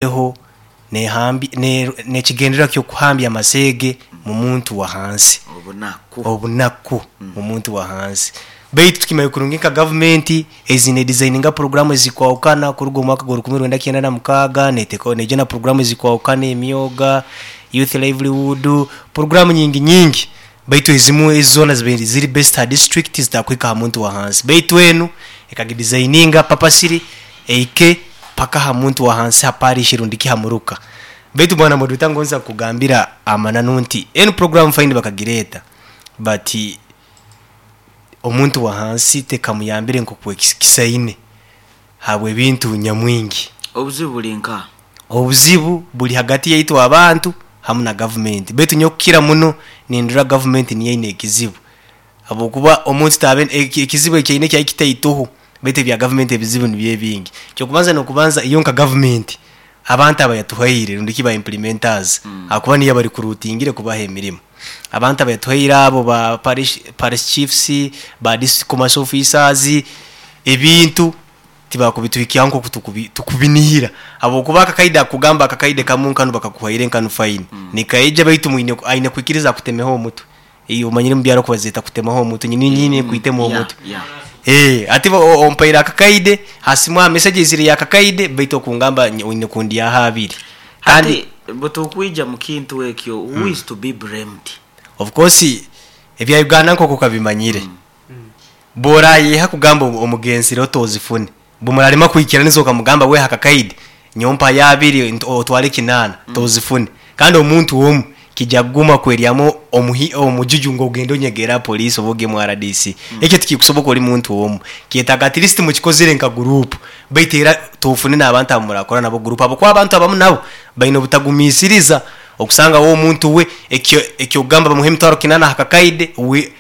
Eho n'ekigendererwa ky'okuhambya amaseege mu muntu wa hansi, obunaku mu muntu wa hansi. Beitu tukimanya kurungi nka gavumenti ezi nedizayininga puroguraamu ezirikwahukana kuruga omu mwaka gwa 1996 neteekaho neija na puroguraamu ezirikwahukana emyoga, youth livelihood, puroguraamu nyingi nyingi beitu ezimwe ezi zoona zibaire ziri based aha disiturikiti zitakuhika aha muntu wa hansi. Beitu enu ekagidizayininga papasiri ehike paka aha muntu wa hansi ha parish rundi ki ha muruka. Beitu bwana moderator ngonza kukugambira amananu nti enu program fine bakagireeta but omuntu wa hansi tekamuyambire nkoku ekisaine habw'ebintu nyamwingi. Obuzibu buri nkaha? Obuzibu buri hagati yaitu abantu hamu na gavumenti. Beitu nyowe kukira muno nindora gavumenti niyo eine ekizibu. Habwokuba omuntu taabe ekizibu eki aine kyaba kitaitoho beitu ebya gavumenti ebizibu nibyo ebingi. Eky'okubanza n'okubanza iyo nka gavumenti abantu abayatuhaire rundi ki ba implementers ahakuba niyo abarikuruutingire kubaha emirimo. Abantu abayatuhaire abo ba parish parish chiefs, ba district commercial officers, ebintu tibakubituhikyaho nk'oku tukubi tukubinihira habwokuba akakaide akukugamba akakaide kamu nkanu bakakuhaire nkanu fine nikaija beitu mwine aine kwikiriza akutemeho omutwe. Iwe omanyire omu byaro oku bazeeta kutemaho omutwe, nyine nyine kwitema omutwe. Eh, hati ompaire akakaide, ha simu aha message eizire ya kakaide, beitu okungamba oine kundyaho abiri. Kandi Hati bw'otukwija mu kintu ekyo, who is to be blamed? Of course ebya Uganda nk'oku okabimanyire, bw'orayeha kugamba omugenzire otozifune, bw'omurarema kwikiraniza okamugamba wehe akakaide, nyowe mpayo abiri otware kinaana, tozifune. Kandi omuntu omu kija kuguma kweryamu omujuju ngu ogende onyegere aha police oba ogye mu RDC. Ekyo tikikusoboka ori muntu omu. Kyetaaga at least mukikozire nka group. Baitu era tofune n'abantu abu murakora nabo group ahabw'okuba abantu abamu nabo baine obutagumiisiriza. Okusanga we omuntu we ekyo eky'okugamba bamuhe emitwaro kinaana aha kakaide we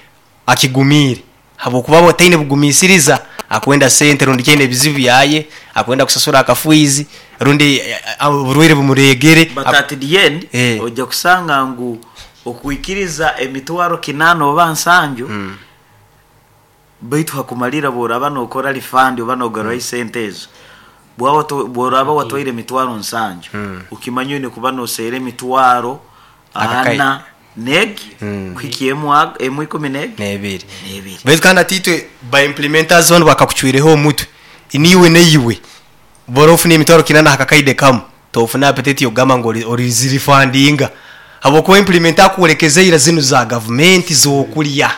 akigumiire. Habw'okuba we taine bugumiisiriza, akwenda sente rundi ki aine ebizibu byaye, akwenda kusasura akafiizi rundi oburwaire bumureegere. But at the end oija kusanga ngu okwikiriza emitwaro kinaana oba nsanju baitu hakumalira bworaba nokora refund oba nogarurayo sente ezo, bworaba watwaire emitwaro nsanju okimanya oine kuba noseera emitwaro ana n'egi kuhikya emwe ikumi n'ebiri. Baitu kandi hati itwe ba implementers banu bakakucwireho omutwe, niiwe naiwe bora ofune emitwaro kinana aha kakaide kamu, tofuna appetite yokugamba ngu orizirifandinga habwokuba implementer akworekeza ira zinu za gavumenti zokurya.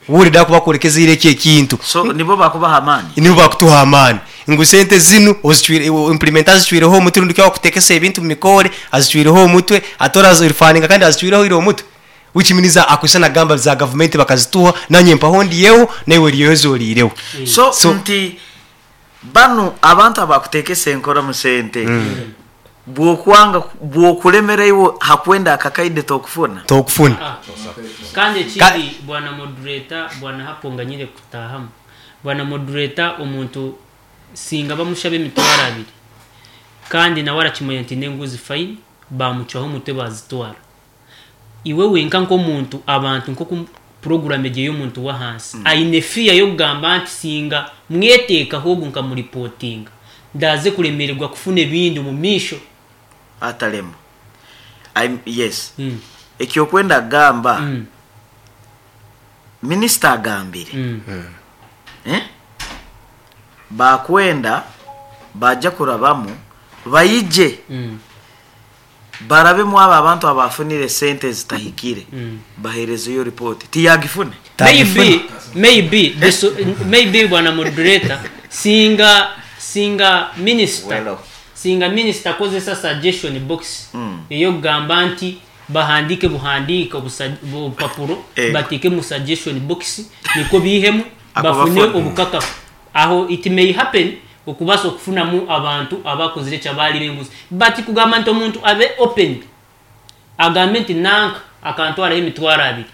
Wulira ku bakworekeza ira ekyo ekintu. So nibo bakubaha amaani? Nibo bakutuha amaani ngu sente zinu ozicwire, implementer azicwireho omutwe rundi ki owakutekesa ebintu omu mikoore azicwireho omutwe ate orazirifandinga kandi azicwireho ira omutwe which means akwisa nagamba za gavumenti bakazituha nanye mpaho ndiyeho naiwe oriyeho ezi oriireho. So nti Banu abantu abakutekesa enkora mu sente bwokwanga bwokulemera iwe hakwenda akakaide tokufuna. Tokufuna. Kandi ekindi bwana moderator bwana Hapo nganyire kutahamu bwana moderator omuntu singa bamushaba emitwaro abiri kandi nawe arakimanya nti nenguzi fine bamucwaho omutwe bazitwara Iwe wenka nk'omuntu, abantu nk'oku puroguramu egi ey'omuntu w'ahansi, aine fear y'okugamba nti singa mweteekaho ogu nkamuripotinga, ndaaze kuremererwa kufuna ebindi omu maisho. Ataremu. I'm, yes. Ekyokwenda kugamba, minisita agambire, eh, baakwenda baaja kurabamu baije. Barabemu abo abantu abaafunire sente ezitahikire baheerezeyo ripooti. Tiyaagifune? Maybe, maybe, the so, maybe bwana moderator, singa, singa minister, Well. singa minister akozesa suggestion box ey'okugamba nti bahandiike buhandiike obusa, obupapuro Ego. bateeke mu suggestion box nikwo baihemu Ako bafune bafune. obukakafu. Aho it may happen okubaasa okufunamu abantu abakozire eki abaarire enguzi but kugamba nti omuntu abe open agambe nti nanka akantwaraho emitwaro abiri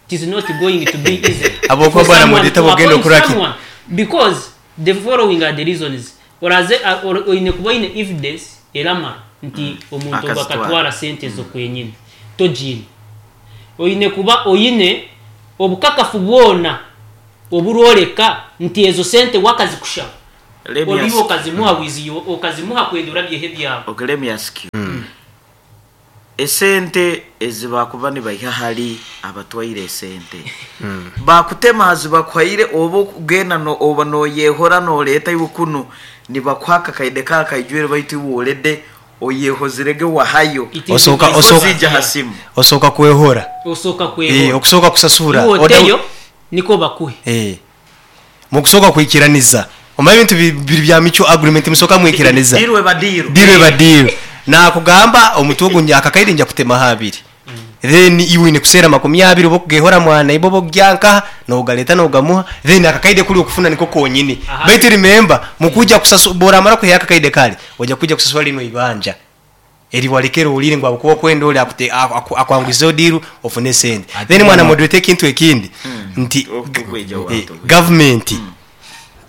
it is not going to be easy Habwokuba for bwana someone Mudita to bw'ogenda appoint okora ki? someone because the following are the reasons oraze oine kuba oine evidence eramara nti omuntu ogu Akazitwara. akatwara sente ezo kwenyini togiine oine kuba oine obukakafu bwona oburworeka nti ezo sente we akazikushaba. Let me Oba iwe ask okazimuha wizi okazimuha kwenda orabyeho ebyawe. Okay, let me ask you. Esente ezi bakuba nibaiha ahari abatwaire esente, bakutema aha zibakuhaire oba okugenda no oba noyehora noreeta iwe kunu nibakuha akakaide ka akaijwire baitu iwe already oyehozire ge wahayo It is Osooka advice. osooka ziija aha simu. osooka kwehora. Osooka Eh, kwehora. okusooka kusasura. Iwe Oda oteyo nikwo bakuhe. Eh. Mukusooka kwikiraniza. Omanye ebintu biri bya mutual agreement musooka mwikiraniza. Diru eba diru. Diru eba diru. Nakugamba omutwe ogu akakaire nja kutemaho abiri. Then iwe oine kuseera 20 oba okugehora mwana iwe oba okugya nkaha nogareta nogamuha then akakaide kuri okufuna niko konyini. Aha. Baitu remember mukuja kusasu boramara kuheya akakaide kare oja kuja kusasura lino ibanja. Eri warekere orire ngu ahabw'okuba okwenda ori akute akwanguhizeho diru ofune sente. Then mwana moderator ekintu ekindi nti Okweija wantu. government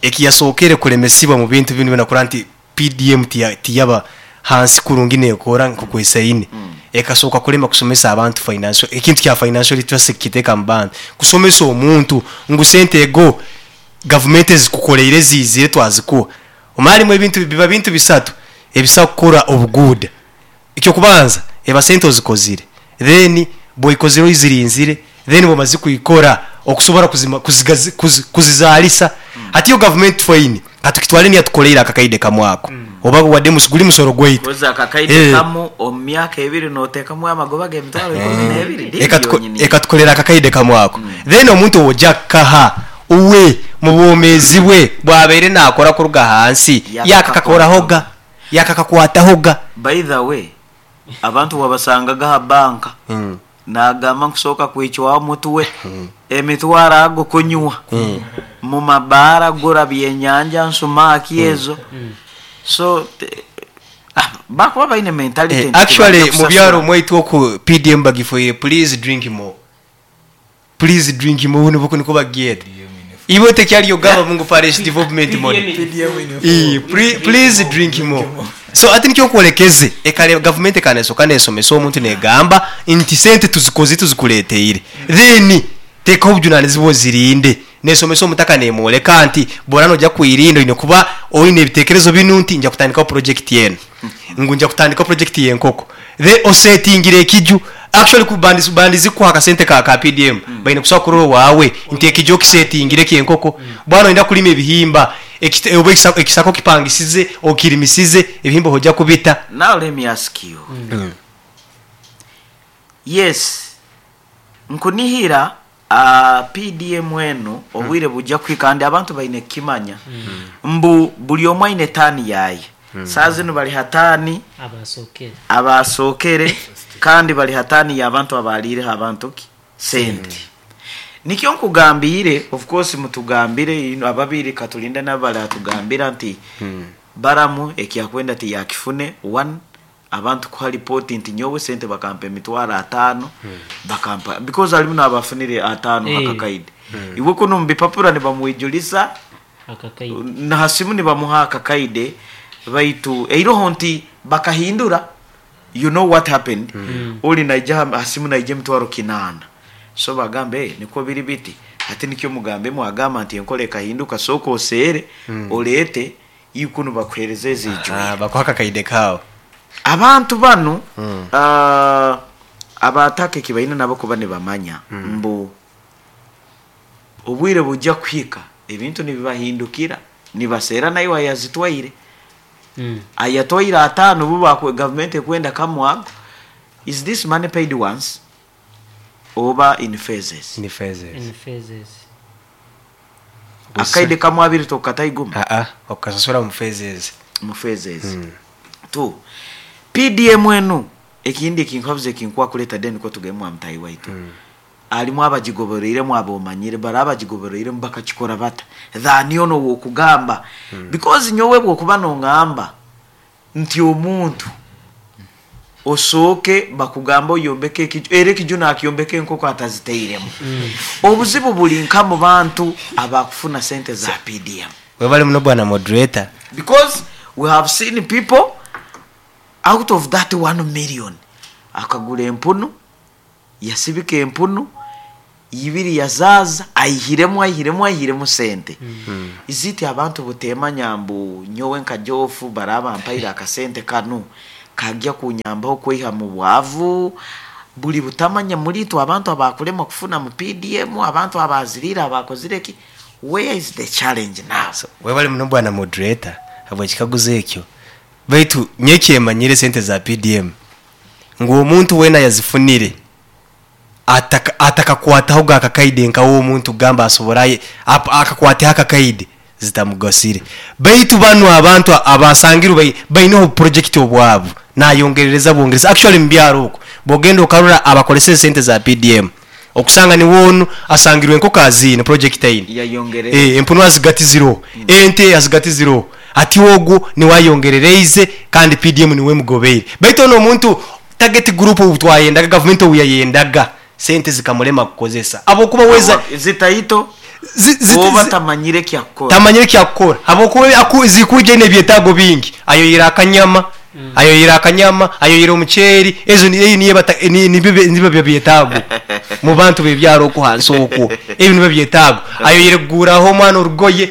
ekiyasookere kuremesibwa mu bintu binu byona kurora nti PDM tiyaba hansi kurungi nekora nk'okwesaine. Ekasooka kulema kusomesa abantu financial ekintu kya financial literacy kukiteeka mu bantu. Kusomesa omuntu ngu sente ego gavumenti ezikukoreire ziizire twazikuha. Omanye harimu ebintu biba bintu bisatu ebisobola kukora obuguuda. Eky'okubanza eba sente ozikozire then bw'oikozire oizirinzire then bw'omaze kwikora okusobora kuzima kuzigazi kuzi kuzizaalisa. Hati yo gavumenti fine katukitware niyo yatukoreire akakaide kamwe ako oba wade guri musoro gwaitu. Kozi akakaide Eh. kamu omu myaka ebiri noteekamu amagoba g'emitwaro ikumi n'ebiri diiru yonyini. Ekatukorera akakaide kamwe ako. Then omuntu ow'oja kukaha uwe mu bwomeezi bwe bwabaire naakora kuruga ahansi yakakakorahoga yakakakwatahoga. By the way, abantu wabasangaga aha banka nagamba nkusooka kwicwaho omutwe emitwaro ago kunywa mu mabaara gura byenyanja nsumaki ezo so bakuba baine mentality nti Actually tibajja mu byaro kusasura. mwaitu oku PDM bagifoire please drink more. Please drink more nibwo niko bagyeta. Iwe tekyariyo gaba mungu parish development model. Please drink more. So ati nikyo nkurekeze ekare government ekanesoka nesomesa omuntu negamba nti sente tuzikoze tuzikureteire. Then tekaho obujunanizibwa ozirinde. Nesomesa omutaka nemworeka nti bora noja kwirinda oine kuba oine ebitekerezo binu nti nja kutandikaho project eno. Ngu nja kutandikaho project y'enkoko. Then osetingire ekiju. Actually ku bandizi kuha akasente ka PDM. Baine kusobola kurora owaawe nti ekiju okisetingire ky'enkoko. Bwana oyenda kulima ebihimba. Oba ekisaka okipangisize, okirimisize, ebihimba oja kubita. Now let me ask you. Yes. Nkunihira PDM enu obwire bujja kuhika kandi abantu baine kukimanya. Mbu buri omwe aine tani yaye. Saa zinu bari hatani abasokere. Abasokere kandi bari hatani y'abantu abaliireho abantu ki sente. Nikyo nkugambire, of course mutugambire ino ababiri katulinde nabo baratugambira nti baramu ekyakwenda ti yakifune one abantu kuha report nti nyowe sente bakampa emitwaro 5 bakampa because alimu nabafunire 5 akakaide. Iwe kuno mbipapura nibamwijulisa akakaide na hasimu nibamuha akakaide baitu eiroho nti bakahindura. You know what happened? Oli naija hasimu naija emitwaro 8. So bagambe niko biri biti. Ati nikyo mugambe mwagamba nti enkole ekahinduka soko oseere oleete ikunu bakuhereze ezijwe. Bakuha akakaide kawe. Abantu banu abataka ekibaine nabo kuba nibamanya mbu obwire bujja kuhika ebintu nibibahindukira nibaseera nayo ayazitwaire. Ayatwaire 5 buba government ekwenda kamwago. Is this money paid once oba in phases? In phases. In phases. Akaide kamwe abiri tokataiguma. Okasasura mu phases. Mu phases. 2. PDM enu ekindi ekinkwabuze ekinkwa kuleta deni ko tugemwa mutayi waitu. Alimu abagigobereire mu abomanyire bara abagigobereire bakakikora bata. Thani ono wokugamba. Because nyowe bwokuba nongamba nti omuntu osooke bakugamba oyombeke ekiju era ekiju nakiyombeke enkoko ataziteiremu. Obuzibu buli nka mu bantu abakufuna sente za PDM. Webale muno bwana moderator. Because we have seen people out of that 1 million akagula empunu, yasibika empunu, Ibiri yazaaza aihiremu aihiremu aihiremu sente. Is it abantu buteemanya mbu nyowe nka Geoff baraba bampaire akasente kanu kagya kunyambaho kweiha mu bwavu? Buri butamanya muri itwe abantu abakuremwa kufuna mu PDM, abantu abaziriire abakozire ki? Where is the challenge now? So, webale muno bwana moderator habw'ekikaguzo ekyo. Baitu nyowe ekyemanyire sente za PDM ngu omuntu weena ayazifunire ataka atakakwatahoga akakaide nka omuntu kugamba asobora aye akakwateho akakaide zitamugasire. Baitu banu abantu abasangirwe bai baineho obuprojekiti obwabu nayongerereza bwongereza actually mubyaro okwo bwogenda okarora abakoleseze sente za PDM okusanga niwe onu asangirwe enkoko aziine project aine Yayongerereza. eh empunu azigatizireho ente azigatizireho hati ogwo niwe ayongerereize kandi PDM niwe emugobeire baitu onu omuntu Target group obu twayendaga gavumenti obu yayendaga sente zikamurema kukozesa habwokuba weza Zitaito zi, zi, oba zi, tamanyire ekyakukora. tamanyire ekyakukora habwokuba aku, zikwija aine ebyetaago bingi ayoyire akanyama ayoyire akanyama ayoyire omuceeri ezo ni- eyo niyo bata- ni- nibyo bye- nibyo byebyetaago mu bantu b'ebyaro okwo hansi okwo ebyo nibyo byetaago ayoyire kuguraho omwana orugoye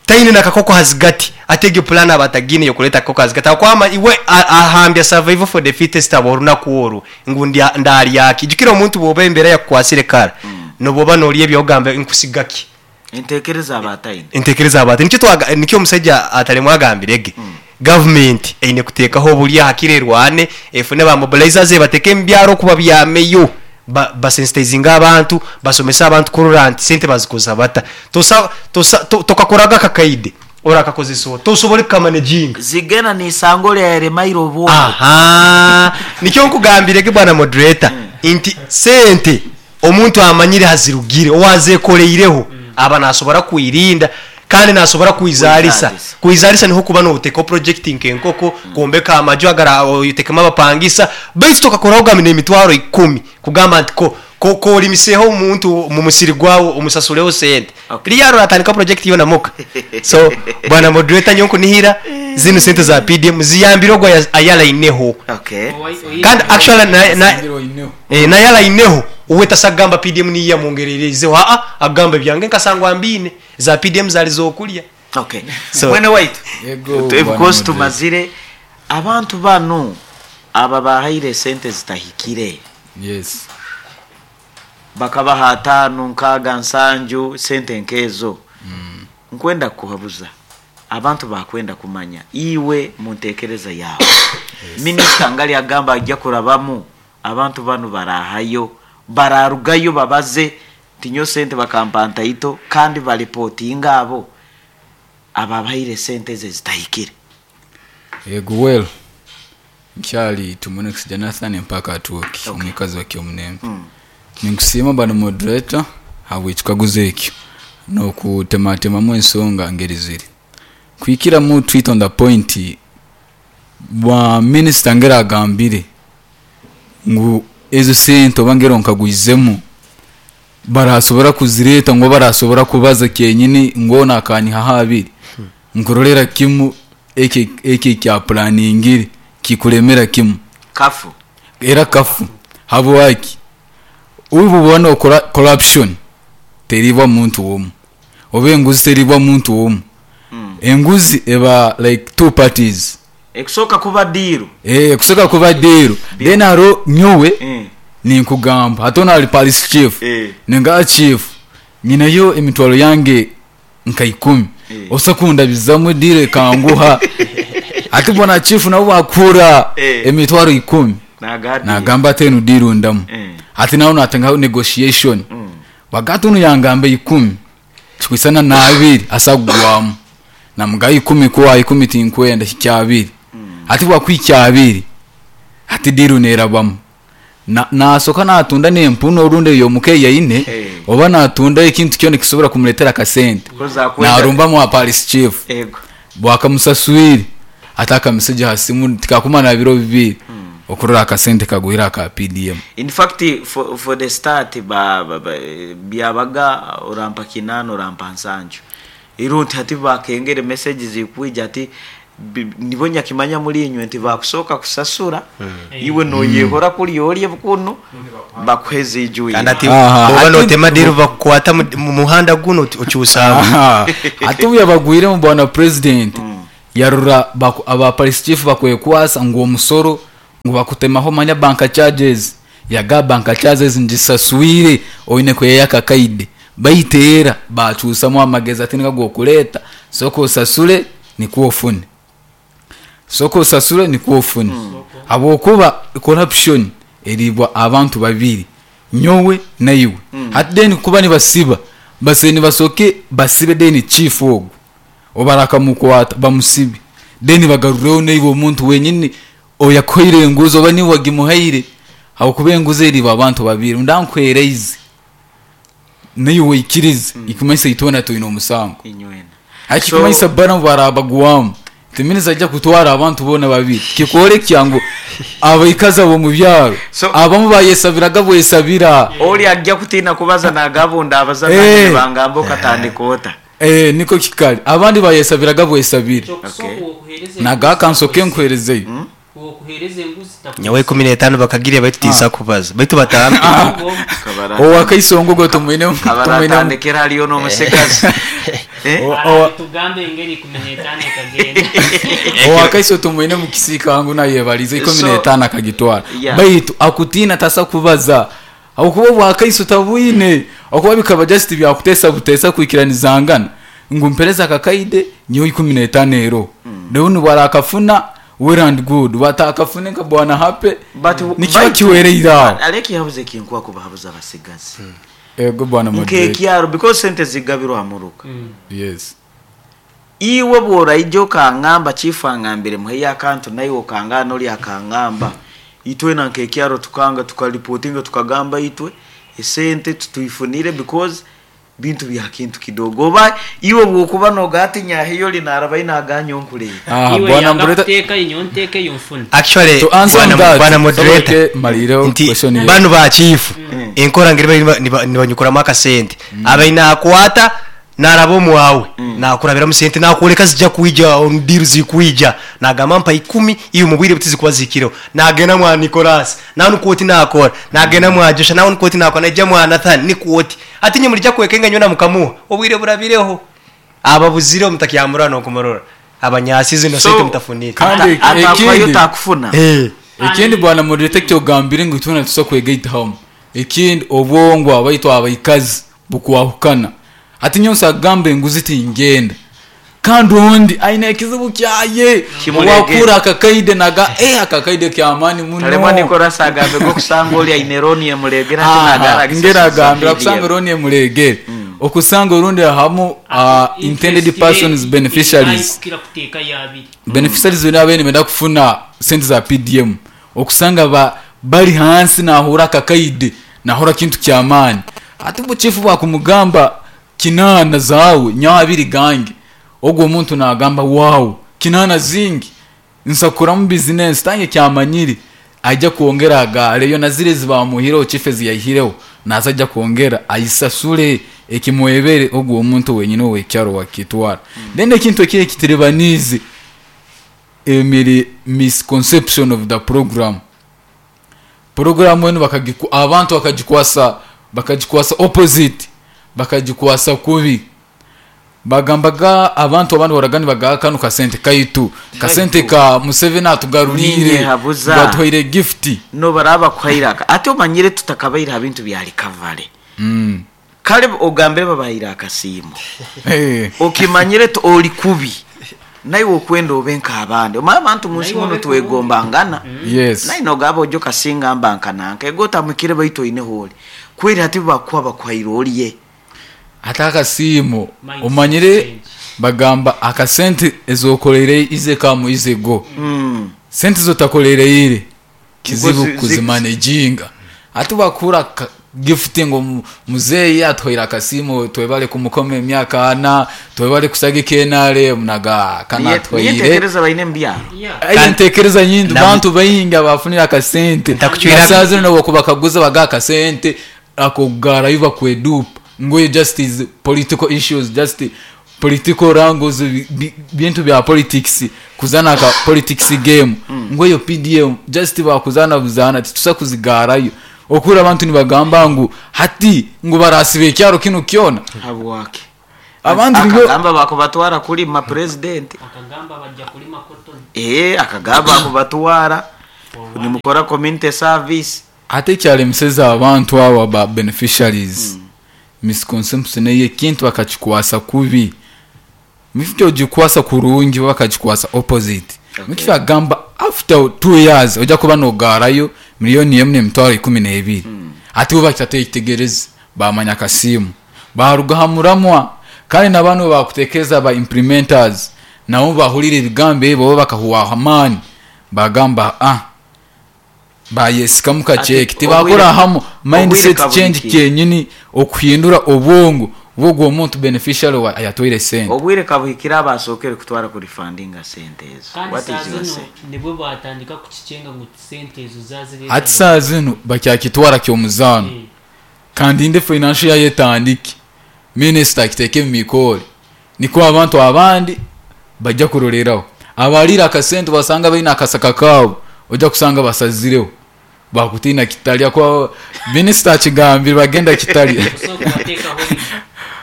Taine na kakoko ahazigati. Ati egyo pulani aba atagiine y'okureeta akakoko ahazigati ahabw'okuba ama iwe ahambya survival for the fittest aba orunaku oru ngu ndya ndaarya ki. Jukira omuntu bw'oba embeera yakukwasire kara n'obwoba noorya ebyawe ogamba nkusiga ki. Entekereza aba ataine. Entekereza aba ataine. Nikyo twaga nikyo omusaija Ataremwa agambire ge gavumenti eine kuteekaho oburyo hakire erwane efune ba mobilizers ebateeke omu byaro oku babyameyo. Ba basensitizinge abantu, basomese abantu kurora nti sente bazikozesa bata. Tosa tosa to tokakoraga akakaide orakakozesa ota? Tosobole kukamanejinga. Zigena niisango lya yaremaire obwongo. Ahaa nikyo nkugambire ge bwana moderator nti sente omuntu amanyire hazirugire owazekoreireho aba nasobora kwirinda kandi nasobora kwizarisa. Kwizarisa. Kwizarisa niho kuba notekaho project nk'enkoko, kwombeka amaju agara otekemu abapangisa baitu tokakoraho ogambe n'emitwaro ikumi kugamba nti ko ko korimiseho omuntu omu musiri gwawe omusasureho sente. Okay. Riya oratandika project yoona muka. So bwana moderator nyowe nkunihira zinu sente za PDM ziyambire ogwo ayaraineho. Okay. Kandi actually na na Asingire oineho. Eh, naye araineho uwe tasa kugamba PDM niyo yamwongerereizeho aa akugamba ebyange nkasangwa mbiine za PDM zari zokurya. Okay. So Mwene waitu, Yego, of bwana course moderator. tumazire abantu banu aba bahaire esente zitahikire. Yes. Bakabaha ataano, nkaaga, nsanju, sente nkezo. Nkwenda kukuhabuza. Abantu bakwenda kumanya iwe muntekereza yawe. Minisita ngali agamba ajja kurabamu abantu banu barahayo, bararugayo babaze nti nyowe sente bakampa ntaito kandi baripotinga abo ababahaire sente ezo ezitahikire. Yego well nkyali Tumunex Jonathan empaka at work Okay. omwikazi wa Kyomunembe. Ninkusiima bwana moderator habw'ekikaguzo ekyo n'okutematemamu ensonga ngeri ziri. Kuhikiramu tweet on the point bwa minisita ngeri agambire ngu ezo sente oba ngeri onkagwizemu barasobora kuzireeta ngu barasobora kubaza kyenyini ngu onu akanyihaho abiri nkurorera kimu eki eki ekyaplaningire kikuremera kimu Kafu. era kafu habwaki obu bwona okora corruption teribwa muntu womu oba enguzi teribwa muntu womu enguzi eba like two parties. Ekusoka kuba diiru. Ekusoka kuba diiru then hariho nyowe ninkugamba hati onu ari parish chief ninga chief nyineyo emitwaro yange nka ikumi osa kundabizamu diiru ekanguha hati bwana chief nawe bwakuhurira emitwaro ikumi nagamba ati enu diiru ndamu hati nawe natengaho negotiation bwagati onu yangamba ikumi Kikwisana na abiri asa kugwamu. Namugaha ikumi ku aha ikumi tinkwenda hikya abiri. Hati bwakuhikya abiri hati diiru nerabamu. Na nasoka natunda n'empunu orundi ey'omuka ei aine oba natunda ekintu kyona ekisobora kumuretera akasente. Narumbamu aha parish chief. Bwakamusaswire ati akameseji aha simu tikakumara biro bibiri okurora akasente kagwire aka PDM. In fact for, for the start ba, ba, ba, byabaga orampa kinana orampa nsanju iru nti hati bakengere message zikwija ati Nibo nyakimanya muri inywe nti bakusooka kusasura iwe noyehora kuriya orye kunu bakuhe eziijwire. Kandi ati Aha, oba ati- notema deal bakukwata mu muhanda guno okyusaamu. Aha. Ati obu yabagwiremu bwana president yarora aba police chief bakwekwasa ngu omusoro ngu bakutemaho manya bank charges, yaga bank charges ngisaswire oine kweya akakaide baiteera bakyusamu amagezi ati niga gokureeta soka osasure nikwo ofune, soka osasure nikwo ofune, habwokuba corruption eribwa abantu babiri, nyowe naiwe. Hati then kuba nibasiba base nibasoke basibe then chief ogu obarakamukwata bamusibe, then bagarureho naiwe omuntu wenyini oyakuhaire enguzi oba niwe wagimuhaire, habwokuba enguzi eribwa abantu babiri, ndankuhereize naiwe waikirize, ikumanyisa itwena twine omusango. Inywena. Hakikumanyisa bana barabagwamu timiniza ajja kutwara abantu boona babiri, kikworekya ngu abaikazi abo mu byaro abamu bayesabiraga bwesabira. Ori ajja kutiina kubaza nagabunda abaza nanye bangamba okatandika ota. Niko kikali abandi bayesabiraga bwesabira. Kyokusooka okuheereza Naga enguzi kansoke takusiba. nkuherezeyo. Okuheereza enguzi takusiba. Nyawe 15 bakagira baitu tisa kubaza baitu batambi. Owakaisongo go tumwine Kabaratandikira hariyo n'omusigazi. Tugambe engeri 15 ekagenda. Owakaiso tumwine mu kisika ngu nayebalize ikumi n'etaano akagitwara. Baitu akutiina tasa kubaza. Okuba obwakaiso tabwine, okuba bikaba just byakutesa butesa kwikiranizangana ngu mpereza akakaide nyowe 15 ero. Leo nibwarakafuna well and good, batakafune nka bwana hape. But nikiba kiwereire aho. Aleki yabuze kinkwa kubahabuza abasigazi. Ego bwana moderator. Nkekyaro because sente zigabirwa muruka. Yes. Iwe bworaije okangamba chifu angambire muhe yakantu naye okangana ori akangamba. Itwe na nkekyaro tukanga tukaripotinga tukagamba itwe esente tutuifunire because bintu bya kintu kidogo. Oba iwe bwokuba nogati nyahiyo linaraba inaganya onkule. Iwe Bwana yanga moderator. kuteeka inyo nteeke yo nfune. Actually, To answer that, bwana moderator, soboke maliro nti question ye. bano ba chief enkora ngeri nibanyukuramu akasente. Abaina akwata naraba omwawe, nakurabiramu sente nakureka zijja kwija on deal zikwija, nagamba mpa 10 iyo mubwire butizi kuba zikiro, nagenda mwa Nicholas nawe nukwoti nakora, nagenda mwa Joshua nawe nukwoti nakora, najja mwa Nathan nikwoti ati nye mulija kwekenga nyona mukamuha obwire burabireho ababuzire mutakyamura no kumurora abanyasizi no sente mutafunire. Kandi Atakwayo takufuna. Ekindi bwana moderator kyogambire ngu tuna tusa kwegaita hamu, ekindi obwongo abaitwa abaikazi bukwahukana. Ati nyonsa agambe enguzi tingenda kandi ondi aine ekizibu kyaye Kimuregere. wakura akakaide naga akakaide kyamani muno. Taremwa Nicholas agambe go kusanga oli aine roni emuregera ati nagara Ngera agambira kusanga kusanga roni emuregere. Okusanga orundi hamu, intended persons beneficiaries. Kira kuteeka yabiri. Beneficiaries bino abene benda kufuna sente za PDM. Okusanga bali hansi nahura akakaide nahura kintu kyamani. Ati buchifu bwakumugamba kinana zawe nyabiri gange. Ogwo omuntu nagamba wow kinana zingi nsakura mu business tange kyamanyiri ajja kuongera agale yo nazire zibamuhiro chief ziyahireho naza ajja kuongera ayisasule ekimwebere ogwo omuntu wenyine we kyaro wakitwara. Then ekintu ekiri kitirebanize emiri misconception of the program. Program wenu abantu bakagikwasa opposite, bakagikwasa kubi. Bagambaga abantu abandi baragani baga kanu kasente kaitu kasente ka Museveni atugarurire Ninye habuza. batwaire gift no baraba kwairaka ate omanyire tutakabaira bintu bya recovery. Kale ogambe babaira akasiimo. Okimanyire oli kubi naye okwenda obenka abandi omanye abantu munsi Naye muno obe twegombangana. Yes. Naye nogaba ojo kasinga mbankananka ego otamukire baitu oine holi kweri ati bakuwa bakwaira oliye ate akasiimo Mindset omanyire change. bagamba akasente ezokoreire ize kamu ize go. Sente zotakoreire kizibu kuzimanejinga. Ate bakura gift ngo muzeyi atwaire akasiimo twebale kumukoma emyaka ana twebale kusagika NRM naga kana atwaire. Niye ntekereza baine mbyaro. Ayi ntekereza nyingi bantu bayingi abafunira akasente. Ntakuchwira- Nasazi no bakubakaguza baga akasente akogara yuba kwedupa. Ngoye just is political issues, just Political wrangles, bintu bya politics, kuzana aka politics game. Ngu eyo PDM just bakuzana buzana, titusa kuzigarayo. Okura abantu nibagamba ngu hati ngu barasiba ekyaro kinu kyona. Habwaki? Abandi nibo Akagamba bakubatwara kulima president. Akagamba bajja kulima cotton. Akagamba bakubatwara nimukora community service. Ate ekyaremiseza abantu aba ba beneficiaries, misconception eyo ekintu bakakikwasa kubi. Mifite ogikwasa kurungi bakakikwasa opposite. Mifite agamba after 2 years ojja kuba nogarayo miliyoni emwe n'emitwaro ikumi n'ebiri. Ate bo bakitategereza bamanya akasimu baruga ha muramwa. Kandi n'abantu bakutekereza ba implementers nabo bahurira ebigambo ebyo bo bakahuwaho amaani bagamba bayesikamu kacheki. Ati, Tibakora hamu mindset obwire change kabuhikire. kenyini okuhindura obwongo bw'ogwo omuntu beneficiary wa ayatwaire sente. Obwire kabuhikire abasokere kutwara kuri funding sente ezo. Kandi What is saa your zino say? nibwo batandika kukicenga ngu sente ezo zazire. Ati saa zino bakyakitwara ky'omuzaano. Kandi inde financial yayetandike. Minister akiteke mu mikore. Niko abantu abandi bajya kuroreraho. Abarira akasente basanga baina akasaka kabo, ojya kusanga basazireho. Bakutina kitalya kwa minister akigambira bagenda kitalya.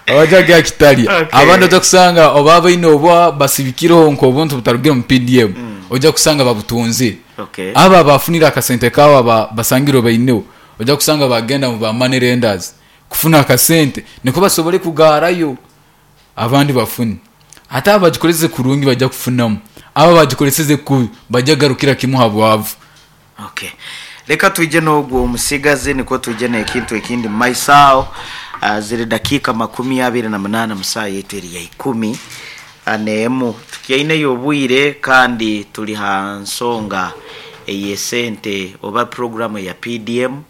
Abajaga kitalya. Abandi ojya kusanga oba baine obwa basibikireho nko obuntu butarugire mu PDM. Ojya kusanga babutunze. Aba bafunira akasente kabo basangiro baineho. Ojya kusanga bagenda mu ba money lenders kufuna akasente niko basobole kugarayo abandi bafune. Ate abagikoreze kurungi bajya kufunamu, aba bagikoreze kubi bajya garukira kimwe habwavu. Reka tuje n'ogwo omusigazi niko tuje n'ekintu ekindi maisao. Ziri dakika makumi abiri na munana musaa yetu eri ya ikumi aneemu tukyaineyo obwire kandi turi ha nsonga ey'esente oba programu ya PDM.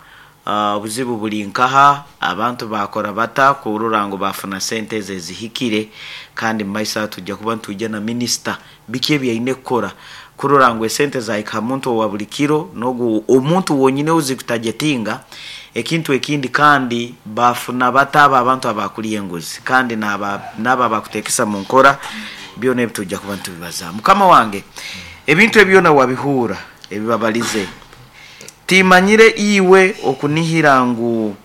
Obuzibu buri nkaha abantu bakora bata kurora ngu bafuna sente ezo ezihikire, kandi mu maiso tujja kuba ntujja na minisita biki ebyaine kukora kurora ngu esente zahika muntu owa buri kiro n'ogu omuntu wonyine ozikutagetinga ekintu ekindi, kandi bafuna bata aba abantu abakuriye enguzi kandi n'aba bakutekesa mu nkora byona ebi tujja kuba ntubibaza. Mukama wange ebintu ebyona wabihura ebibabalize timanyire iwe okunihira ngu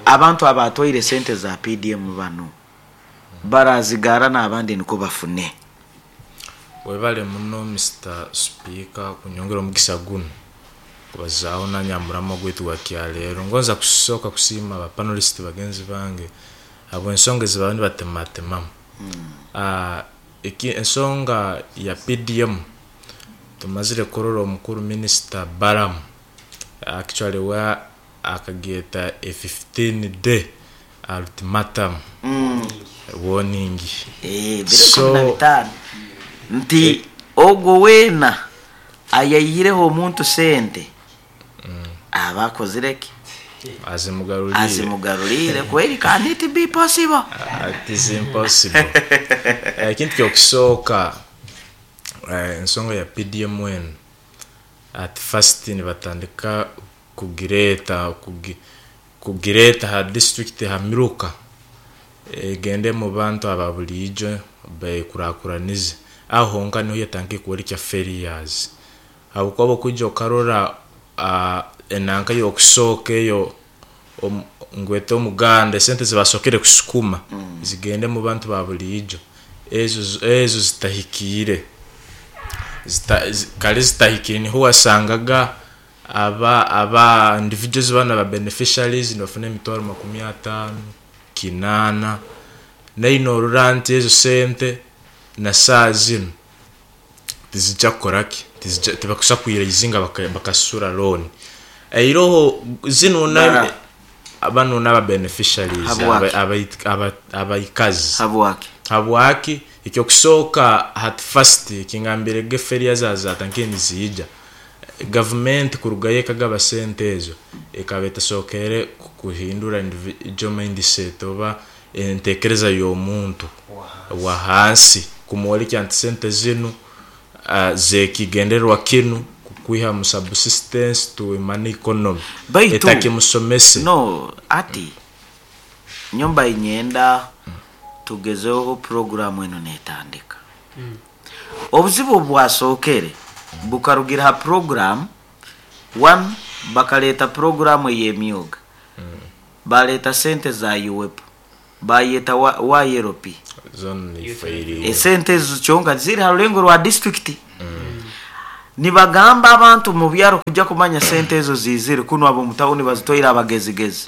abantu abatoire sente za PDM bano barazigara n'abandi niko bafune. Webale muno Mr Speaker kunyongera omugisa guno kubazaaho nanyamuramo gwaitu gwa kyaleero. Ngonza kusooka kusiima ba panelist bagenzi bange habw'ensonga ezibaba nibatematemamu. Ensonga ya PDM tumazire kurora omukuru Minister Balaam actually wa akageeta a 15 day ultimatum. Warning. Biro kumi na bitaano. Nti ogwo weena ayayireho omuntu sente aba akozire ki? Azimugarurire. Azimugarurire kweli, can it be possible? It is impossible. Ekintu kyokusooka, ensonga ya PDM eno at first nibatandika kugireeta ha district ha miruka egende mu bantu aba bulijo bekurakuranize aho honka niho yatangiye kuwereka failures. Habwokuba okujja okarora, enanka y'okusooka eyo, ngwete omuganda esente zibasokere kusukuma zigende mu bantu ba bulijo ezo zitahikiire. Kale zitahikiire niho wasangaga aba individuals bana ba beneficiaries nibafuna emitwaro makumi ataano kinaana naino orora nti ezo sente na saa zino tizijja kukoraki, tibakusa kwiraizinga bakasura loan. Eiroho zino na Bara. bano n'aba beneficiaries, Habwaki? abaikazi. Habwaki? Habwaki? Ekyokusooka at first kingambire ge failures zatankiye nizija. Government kurugayo ekagaba sente ezo ekaba etasookere kuhindura individual mindset oba entekereza y'omuntu wa hansi kumworeka nti sente zinu zekigendererwa kinu kukwiha mu subsistence to money economy. Baitu, etakimusomese. No, ati nyumba inyenda Tugezeho puroguramu enu netandika. Obuzibu obwasookere bukarugira ha puroguramu, one, bakaleeta puroguramu ey'emyoga, baleeta sente za UWEPO, bayeta YLP. Zoona nifairiire. Esente ezo kyonka ziri ha rulengo rwa disiturikiti. Nibagamba abantu mu byaro kujya kumanya sente ezo ziizire kunu ab'omu tawuni bazitwaire abagezigezi.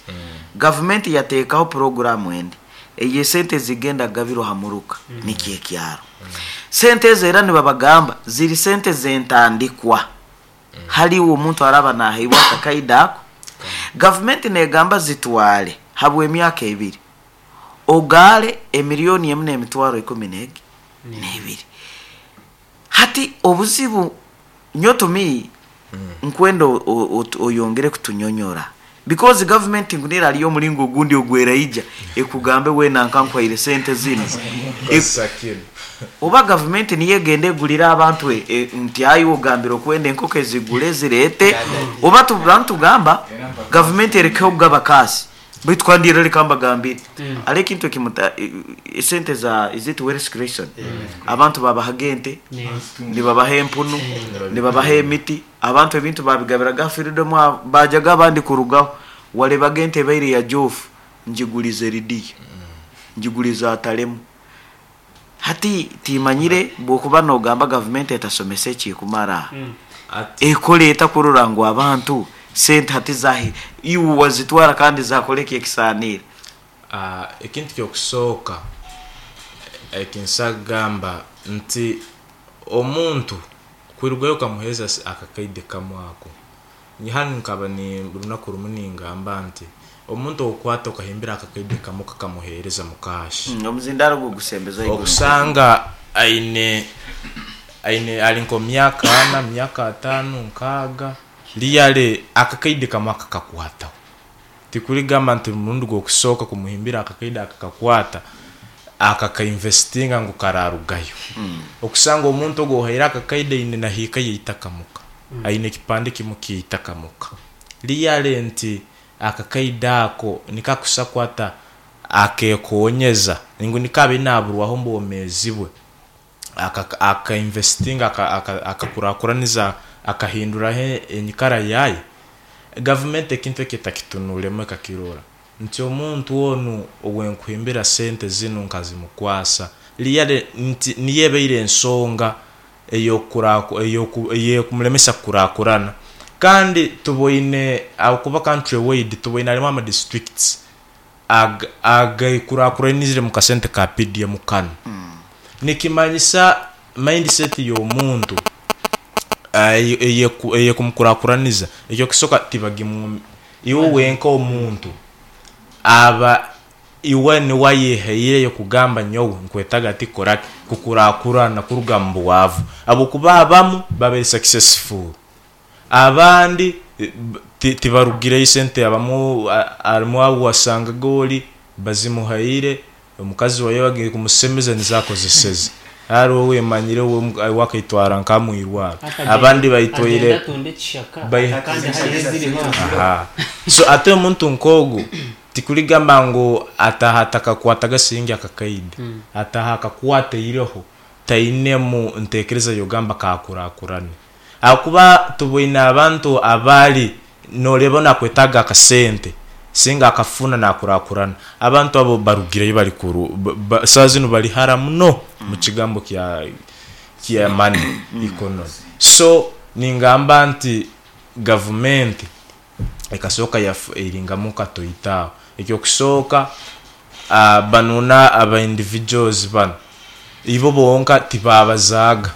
Gavumenti yateekaho puroguramu endi ey'esente ezigenda kugabirwa ha muruka nikyo ekyaro. Sente ezo era nibabagamba ziri sente z'entandikwa hali iwe omuntu araba naheibwa akakaida ako. Gavumenti negamba zitwale habw'emyaka ebiri ogaale emiliyoni emu n'emitwaro ikumi n'egi n'ebiri. Hati obuzibu nyowe to me nkwenda oyongere kutunyonyora because government nkunira hariyo omuringo ogundi ogweraija ekugambe weena nka nkuhaire sente zinu. Kozesa kinu. Oba gavumenti niyo egenda egurira abantu nti ayi ogambire okwenda enkoko ezigure zireete oba tuba nitugamba gavumenti erekeho kugaba kaasi baitu kandi era reka mbagambire hariho ekintu ekimuta esente za is it wealth creation abantu babahaga ente nibabaha empunu nibabaha emiti abantu ebintu babigabiraga aha freedom aho bajaga abandi kurugaho warebaga ente ebaire ya Jofu ngigurize Lydia ngigurize Atalemu. Hati timanyire bwokuba nogamba gavumenti etasomesa ekikumara, ekora eta kurora ngu abantu sente hati zahi iwe wazitwara kandi zakora eki ekisaniire? Ekintu ky'okusooka eki nsobola kugamba nti omuntu kwirugayo okamuheereza akakaide kamwe ako, hanu nkaba ni runaku rumu ningamba nti omuntu ow'okukwata okahimbira akakaide kamwe okakamuheereza mu kaashi. Omuzindaaro gwe gusembeza haiguru. Okusanga aine aine ari nk'omu myaka ana, myaka ataano, nkaaga, really akakaide kamwe akakakwataho. Tikurigamba nti omurundi gw'okusooka kumuhimbira akakaide akakakwata, akakainvestinga ngu kararugayo. Okusanga omuntu ogu ohaire akakaide aine na hiika y'eitaka muka, aine ekipande kimwe ky'eitaka muka. Really nti akakaide ako nikakusa kwata akekonyeza ngu nikabaire naburwaho omu bwomeezi bwe, akainvestinga, akakurakuraniza, akahinduraho enyikara yaye. Gavumenti ekintu eki etakitunuremu ekakirora nti omuntu onu owenkuhimbira sente zinu nkazimukwasa, really nti niyo ebaire ensonga eyokumulemesa kukurakurana. Kandi tuboine ahakuba country wide tuboine harimu ama districts agekurakuranizire mu kasente ka PDM kanu. Nikimanyisa mindset y'omuntu eyekumukurakuraniza, ekyokusoka tibagimu iwe wenka omuntu aba iwe niwe ayehaireyo kugamba nyowe nkwetaga ati kukora ki? Kukurakurana kuruga mu bwavu. Habwokuba abamu babaire successful, abandi tibarugireyo sente abamu harimu abu wasangaga ori bazimuhaire omukazi waye agiire kumusemeza nizo akozeseze. Hariho owemanyire we akaitwara nka mwirwaro abandi baitwaire so ate omuntu nk'ogu tikurigamba ngu ataha atakakwataga siringi akakaide, ataha akakwata eiroho tainemu ntekereza yogamba kakurakurane. Ahakuba tuboine abantu abari noreba nakwetaga akasente singa akafuna nakurakurana, abantu abo barugireyo bari kuru saha zinu bari hara muno mukigambo kya money economy. So ningamba nti gavumenti ekasoka eiringamu katoito aho. Ekyokusooka banuna aba individuals banu ibo bonka tibabazaaga.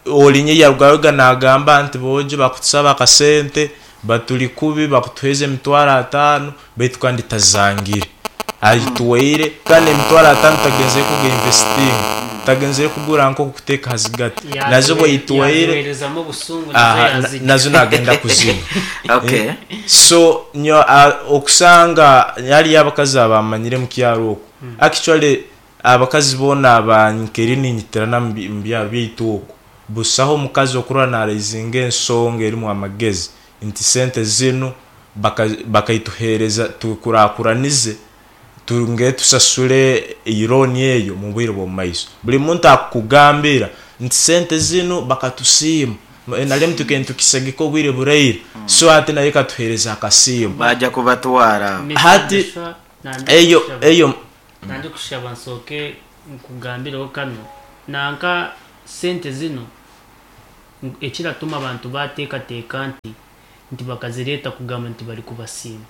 Orinye yarugayoga nagamba nti bojo bakutusaba akasente baturi kubi bakutuheza emitwaro ataano baitu kandi tazangire ayitwaire kandi emitwaro ataano tagenzere kugainvestinga, tagenzere kugura nkoko kuteeka aha zigati nazo obu ayitwaire nazo nagenda kuzinywa. So nyowe okusanga hariyo abakazi abamanyire omukyaro oku actually abakazi boona aba nkeri ninyitirana omu byaro byaitu oku busaho omukazi okurora naraizinga ensonga erimu amagezi nti sente zinu bakaituhereza tukurakuranize. Tunge tusasule looni eyo mu bwire bw'omu maiso. Buli muntu akukugambira nti sente zinu bakatusiima. Nrm tukaire nitukisagika obwire buraire so hati nayo ekatuheereza akasiimo. Baja kubatwara. Hati eyo eyo. Nandikushaba nsooke nkugambireho kanu, nanka sente zinu ekiratuma abantu bateekateeka nti nti bakazireeta kugamba nti bari kubasiima.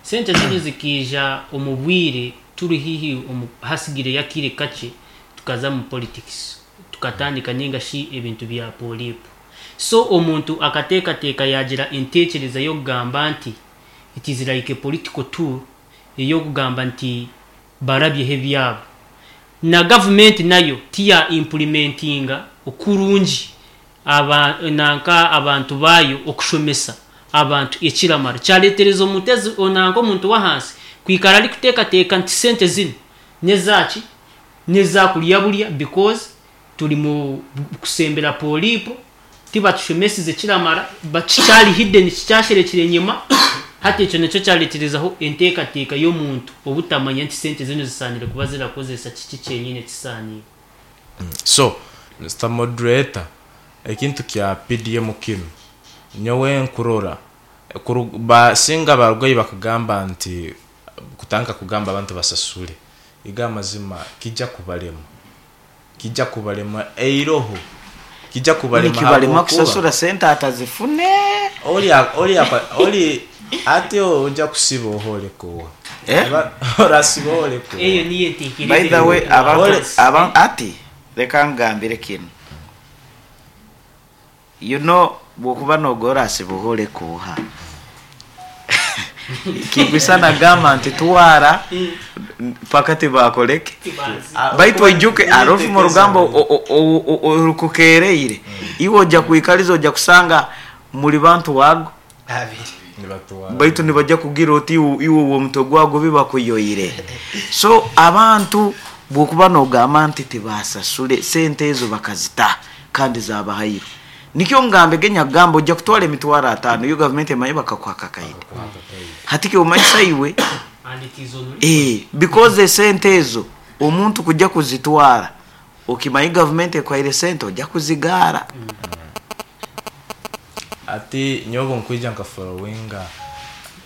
Sente zinu zikaija omu bwire turi haihi omu hatsigireyo akaire kakye tukaza omu politics tukatandika ninga shi ebintu bya polipo. So omuntu akateekateeka yaagira enteekyereza y'okugamba nti it is like a political tool ey'okugamba nti barabyeho ebyabo. Na gavumenti nayo tiya implementinga okurungi aba nanka abantu baayo okushomesa abantu ekiramara. Kyareetereza omutezi nanka omuntu w'ahansi kwikara arikuteekateeka nti sente zinu n'ezaaki? N'eza kurya burya because turi mu kusembera pooripo, tibatushomesize kiramara, kikyari hidden kikyasherekire enyima, hati ekyo nikyo kyareeterezaho enteekateeka y'omuntu obutamanya nti sente zinu zisaaniire kuba zirakozesa kiki kyenyine ekisaaniire. So Mister Moderator, ekintu kya PDM kinu nyowe nkurora singa barugayo bakagamba nti kutandika kugamba abantu basasule, igo amazima kija kubalema, kija kubalema eiroho, kija kubalema Nikibalema habwokuba kusasura sente atazifune. Oli oli oli ati oja kusiba oholeka oha? Eh? Orasiba oholeka oha? Eyo niyo By the enteekereza way, abantu Ole aba ati leka ngambire kinu. You know bwokuba nogora asiba oholeka oha? Kigwisana gamba nti twara paka tibakoleke. Baitu oijuke arofu mu rugambo orukukereire. Iwe ojja kwikaliza ojja kusanga muri bantu wago. Baitu nibajja kugira oti iwe uwo mutwe gwago bibakuyoire. So abantu bwokuba nogamba nti tibasasule sente ezo bakazita kandi zabahairwe. Nikyo ngambe genya gamba ojja kutwara emitwaro 5 yo government emaye bakakwaka kaide. Hati kyo omanyi iwe And it is on record. Because sente ezo omuntu kujja kuzitwara okimanyi government ekwaire sente ojja kuzigara. Ati nyobo nkwija nka followinga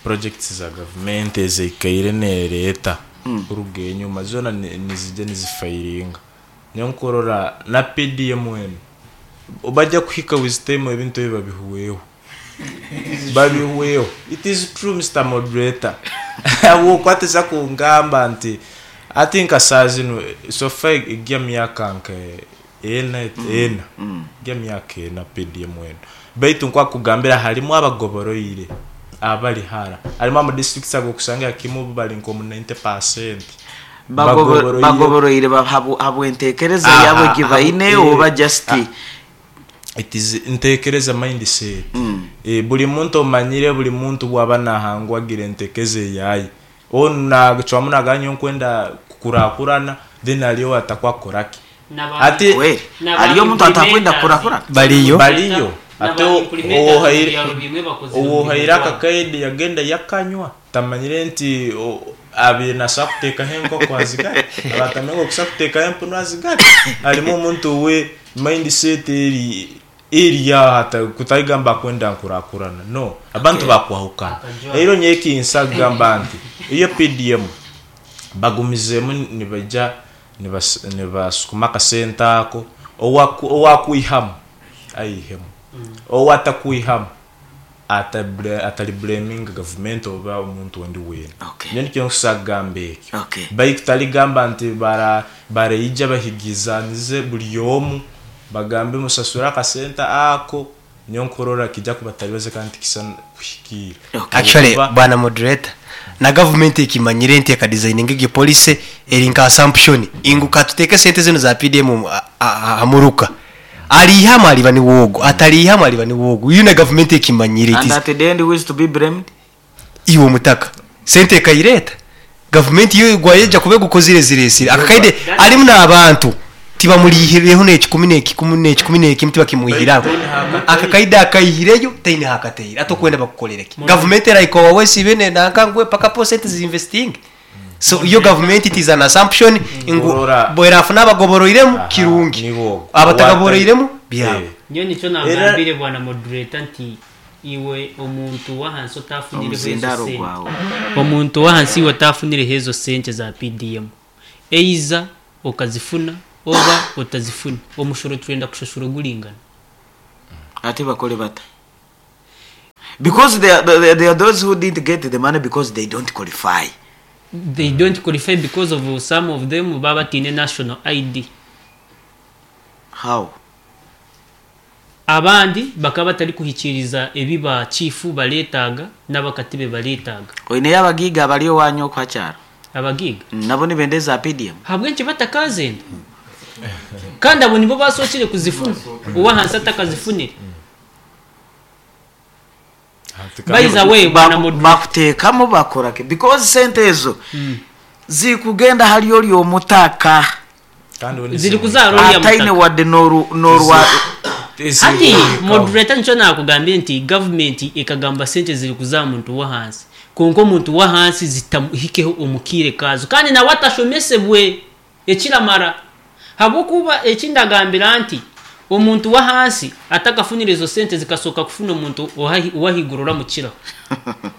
projects za government ezeikaire nereeta kuruga enyuma zona nizija nizifairinga. Nyo nkurora na PDM enu bajja kuhika with time ebintu ebi babihuweho. Babihuweho. It is true Mr. Moderator. Okwateza kungamba nti ati nka saa zinu so far ejya myaka nka ena ena. Ejya myaka ena PDM enu. Baitu nkwakugambira harimu abagoboroire abali hara. Harimu ama districts agokusanga kimu bali nko mu 90%. Bagoboroire habwentekereza yabo gibaine oba just It is ntekereza mindset. Buli muntu omanyire, buli muntu bwaba nahangwagira entekeze yaye. Ona chwamu naganyo nkwenda kukurakurana then aliyo atakwakoraki. Ati kweli aliyo omuntu atakwenda kukurakurana. Baliyo. Baliyo. Ate owohaire akakaidi yagenda yakanywa tamanyire nti abire nasa kuteekaho enkoko azigare. Abatamengo kusa kuteekaho empunu azigare. Harimu omuntu we mindset eri hata kutaigamba kwenda nkurakurana. No, abantu bakwahukana. Eiro nyeki nsagamba nti iyo PDM bagumizemu nibaja nibasukuma akasente ako owakwihamu aihemu owatakuihamu atali blaming government oba omuntu ondi weena. Nyo nikyo nkusagamba ekyo. Baitu taligamba nti baraija bahigizanize buli omu bagambe musasura akasente ako nyo nkorora kijja kubatalibaze kandi kisa kuhikira. Actually bwana moderator na government ikimanyire nti eka designing egi policy eri nka assumption inguka tuteke sente zino za PDM amuruka alihama aliba ni wogo atalihama aliba ni wogo iyo na government ikimanyire And at the end who is to be blamed? Iwo mutaka sente kaireta government yo gwayeja kube gukozire ziresire akakaide alimu n'abantu tibamulihireho n'ekikumi n'ekikumi n'ekikumi n'ekikumi tibakimuhiraho akakaida akayihireyo taine hakateire atokwenda bakukorereke government eraiko wawe sibene nankangwe paka percent zinvesting. So yo gavumenti it is an assumption ngu Ngurora. bwerafuna abagoboroiremu Aha, kirungi nibo ogwo. abatagaboroiremu byabo. Eh. Nyowe nikyo Era nagambire bwana moderator nti iwe omuntu w'ahansi otafunireho ezo Omuzindaaro sente gwawe. omuntu w'ahansi iwe otafunireho ezo sente za PDM eiza okazifuna oba otazifuna omushoro twenda kushashura oguringana. Ate bakore bata? Because there are those who didn't get the money because they don't qualify. They don't qualify because of some of them baba bataine national ID. How? Abandi bakaba batarikuhikiiriza ebi ba chief bareetaaga n'abakatibe bareetaaga. Oineyo abagiiga abari owaanyu okwo aha kyaro? Abagiiga? Nabo nibenda eza PDM? Ahabw'enki batakazenda? Kandi abo nibo basookire kuzifuna, ow'ahansi atakazifunire. By the way, bwana Moderator. Bakuteekamu bakora ki? Because sente ezo zikugenda ahari ori omutaka. Kandi we Ziri kuzaara oriya Ataine mutaka. wadde n'oru n'orwa. Hati moderator nikyo naakugambire nti gavumenti ekagamba sente ziri kuza aha muntu w'ahansi kwonka omuntu w'ahansi zitamuhikeho omu kaire kaazo kandi nawe atashomesebwe ekiramara habw'okuba eki ndagambira nti omuntu w'ahansi atakafunire ezo sente zikasooka kufuna omuntu ow'ahaiguru oramukiraho.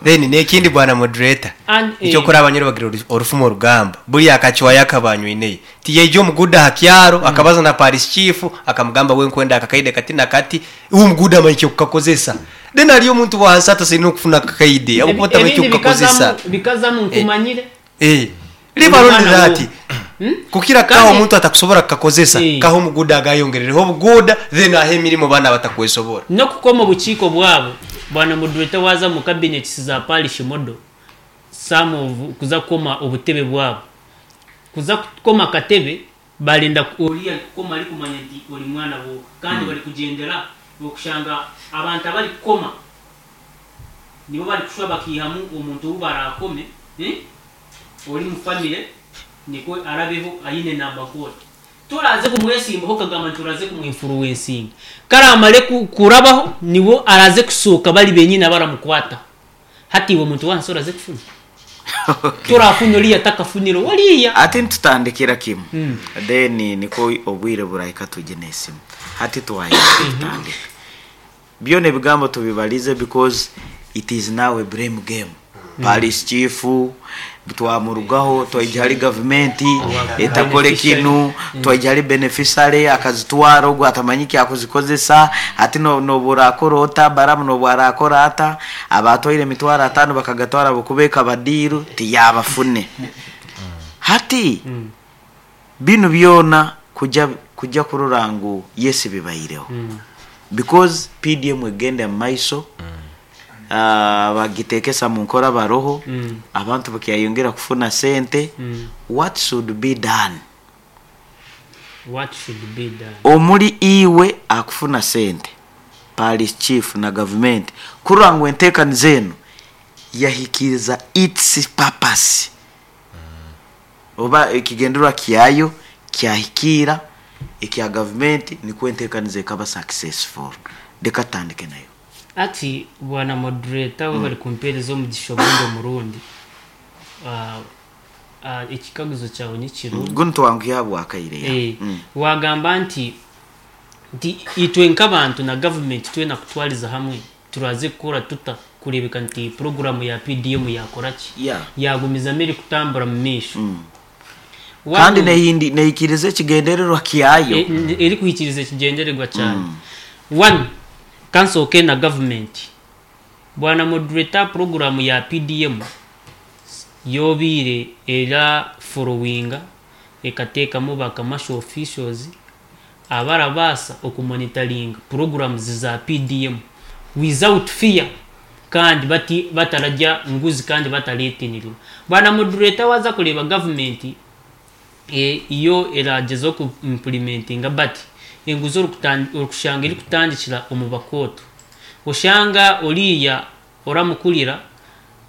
Then n'ekindi bwana moderator And, eh, eky'okora abanyoro bagira orufumo orugamba buriya akacwayo akabanywineyo tiyaija omuguuda aha kyaro akabaza na parish chief akamugamba we nkwenda akakaide kati na kati iwe omuguuda amanya ekyokukakozesa then hariyo omuntu wahansi atasaine okufuna akakaide ahabw'okuba tamanya Ebindi ekyokukakozesa. bikazamu nkumanyire. Eh, Oli liba mwana rondera wo. ati kukira kaha Kandi omuntu atakusobora kukakozesa Eh. kaha omuguuda agayongerereho obuguuda then ahe emirimo baana abatakwesobora. N'okukoma obukiiko bwabo bwana moderator waaza omu cabinets za parish model some of kuza kukoma obutebe bwabo kuza kukoma akatebe barenda oriya arikukoma arikumanya nti ori mwana wooha kandi barikugyendera okushanga abantu abarikukoma nibo barikushwa bakaihamu omuntu ou baraakome ori mu famire nikwo arabeho aine namba kooti. Toraze kumwesimbaho okagamba nti oraze kumwinfuruwensinga. Ku araamare kurabaho nibo araze kushooka bari benyini abaramukwataho. Hati iwe omuntu w'ahansi oraze kufuna? Torafuna oriya atakafunire oriya. Hati nitutandikira kimwe then nikwo obwire burahika tugye n'esimu. Hati twahika tutandika. Byona ebigambo tubibarize because it is now a blame game. Parish chief twamurugaho twaija ahari gavumenti etakore kinu twaija ahari beneficiary akazitwara ogwo atamanya eki akuzikozesa hati nobu orakora ota Balaam nobu arakora ata abatwaire emitwaro atano bakagatwara ahabw'okuba ekaba diiru tiyabafune hati binu byona kuja kuja kurora ngu yes bibaireho because PDM egenda omu maiso abagitekesa mu nkora baroho abantu bakyayongera kufuna sente what should be done? What should be done? Omuri iwe akufuna sente parish chief na gavumenti kurora ngu entekaniza enu yahikiriza its purpose oba ekigendererwa kyayo kyahikiira ekya gavumenti nikwo entekaniza ekaba successful. Reka tutandike nayo. Ati bwana moderator webare kumpereza omugisha ogundi omurundi. Ekikaguzo kyawe nikirungi. Gunu twanguhe ahabwakaire ya. Wagamba nti nti itwe nk'abantu na gavumenti twena kutwariza hamwe turaze kukora tuta kureebeka nti puroguramu ya PDM yakora ki? Yeah. Yagumizamu erikutambura mu maisho. Kandi nehindi nehikiriza ekigendererwa kyayo. Erikuhikiriza ekigyendererwa kyayo. One, kansooke na gavumenti. Bwana moderator puroguramu ya PDM yobaire era forowinga ekateekamu ba commercial officials abarabaasa okumonitaringa puroguramuzi za PDM without fear kandi bati batararya nguzi kandi batareetinirira. Bwana moderator waaza kureeba gavumenti yo eragyezaho ku implementinga but enguzi orikushanga erikutandikira omu bakooto. Oshanga oriya oramukurira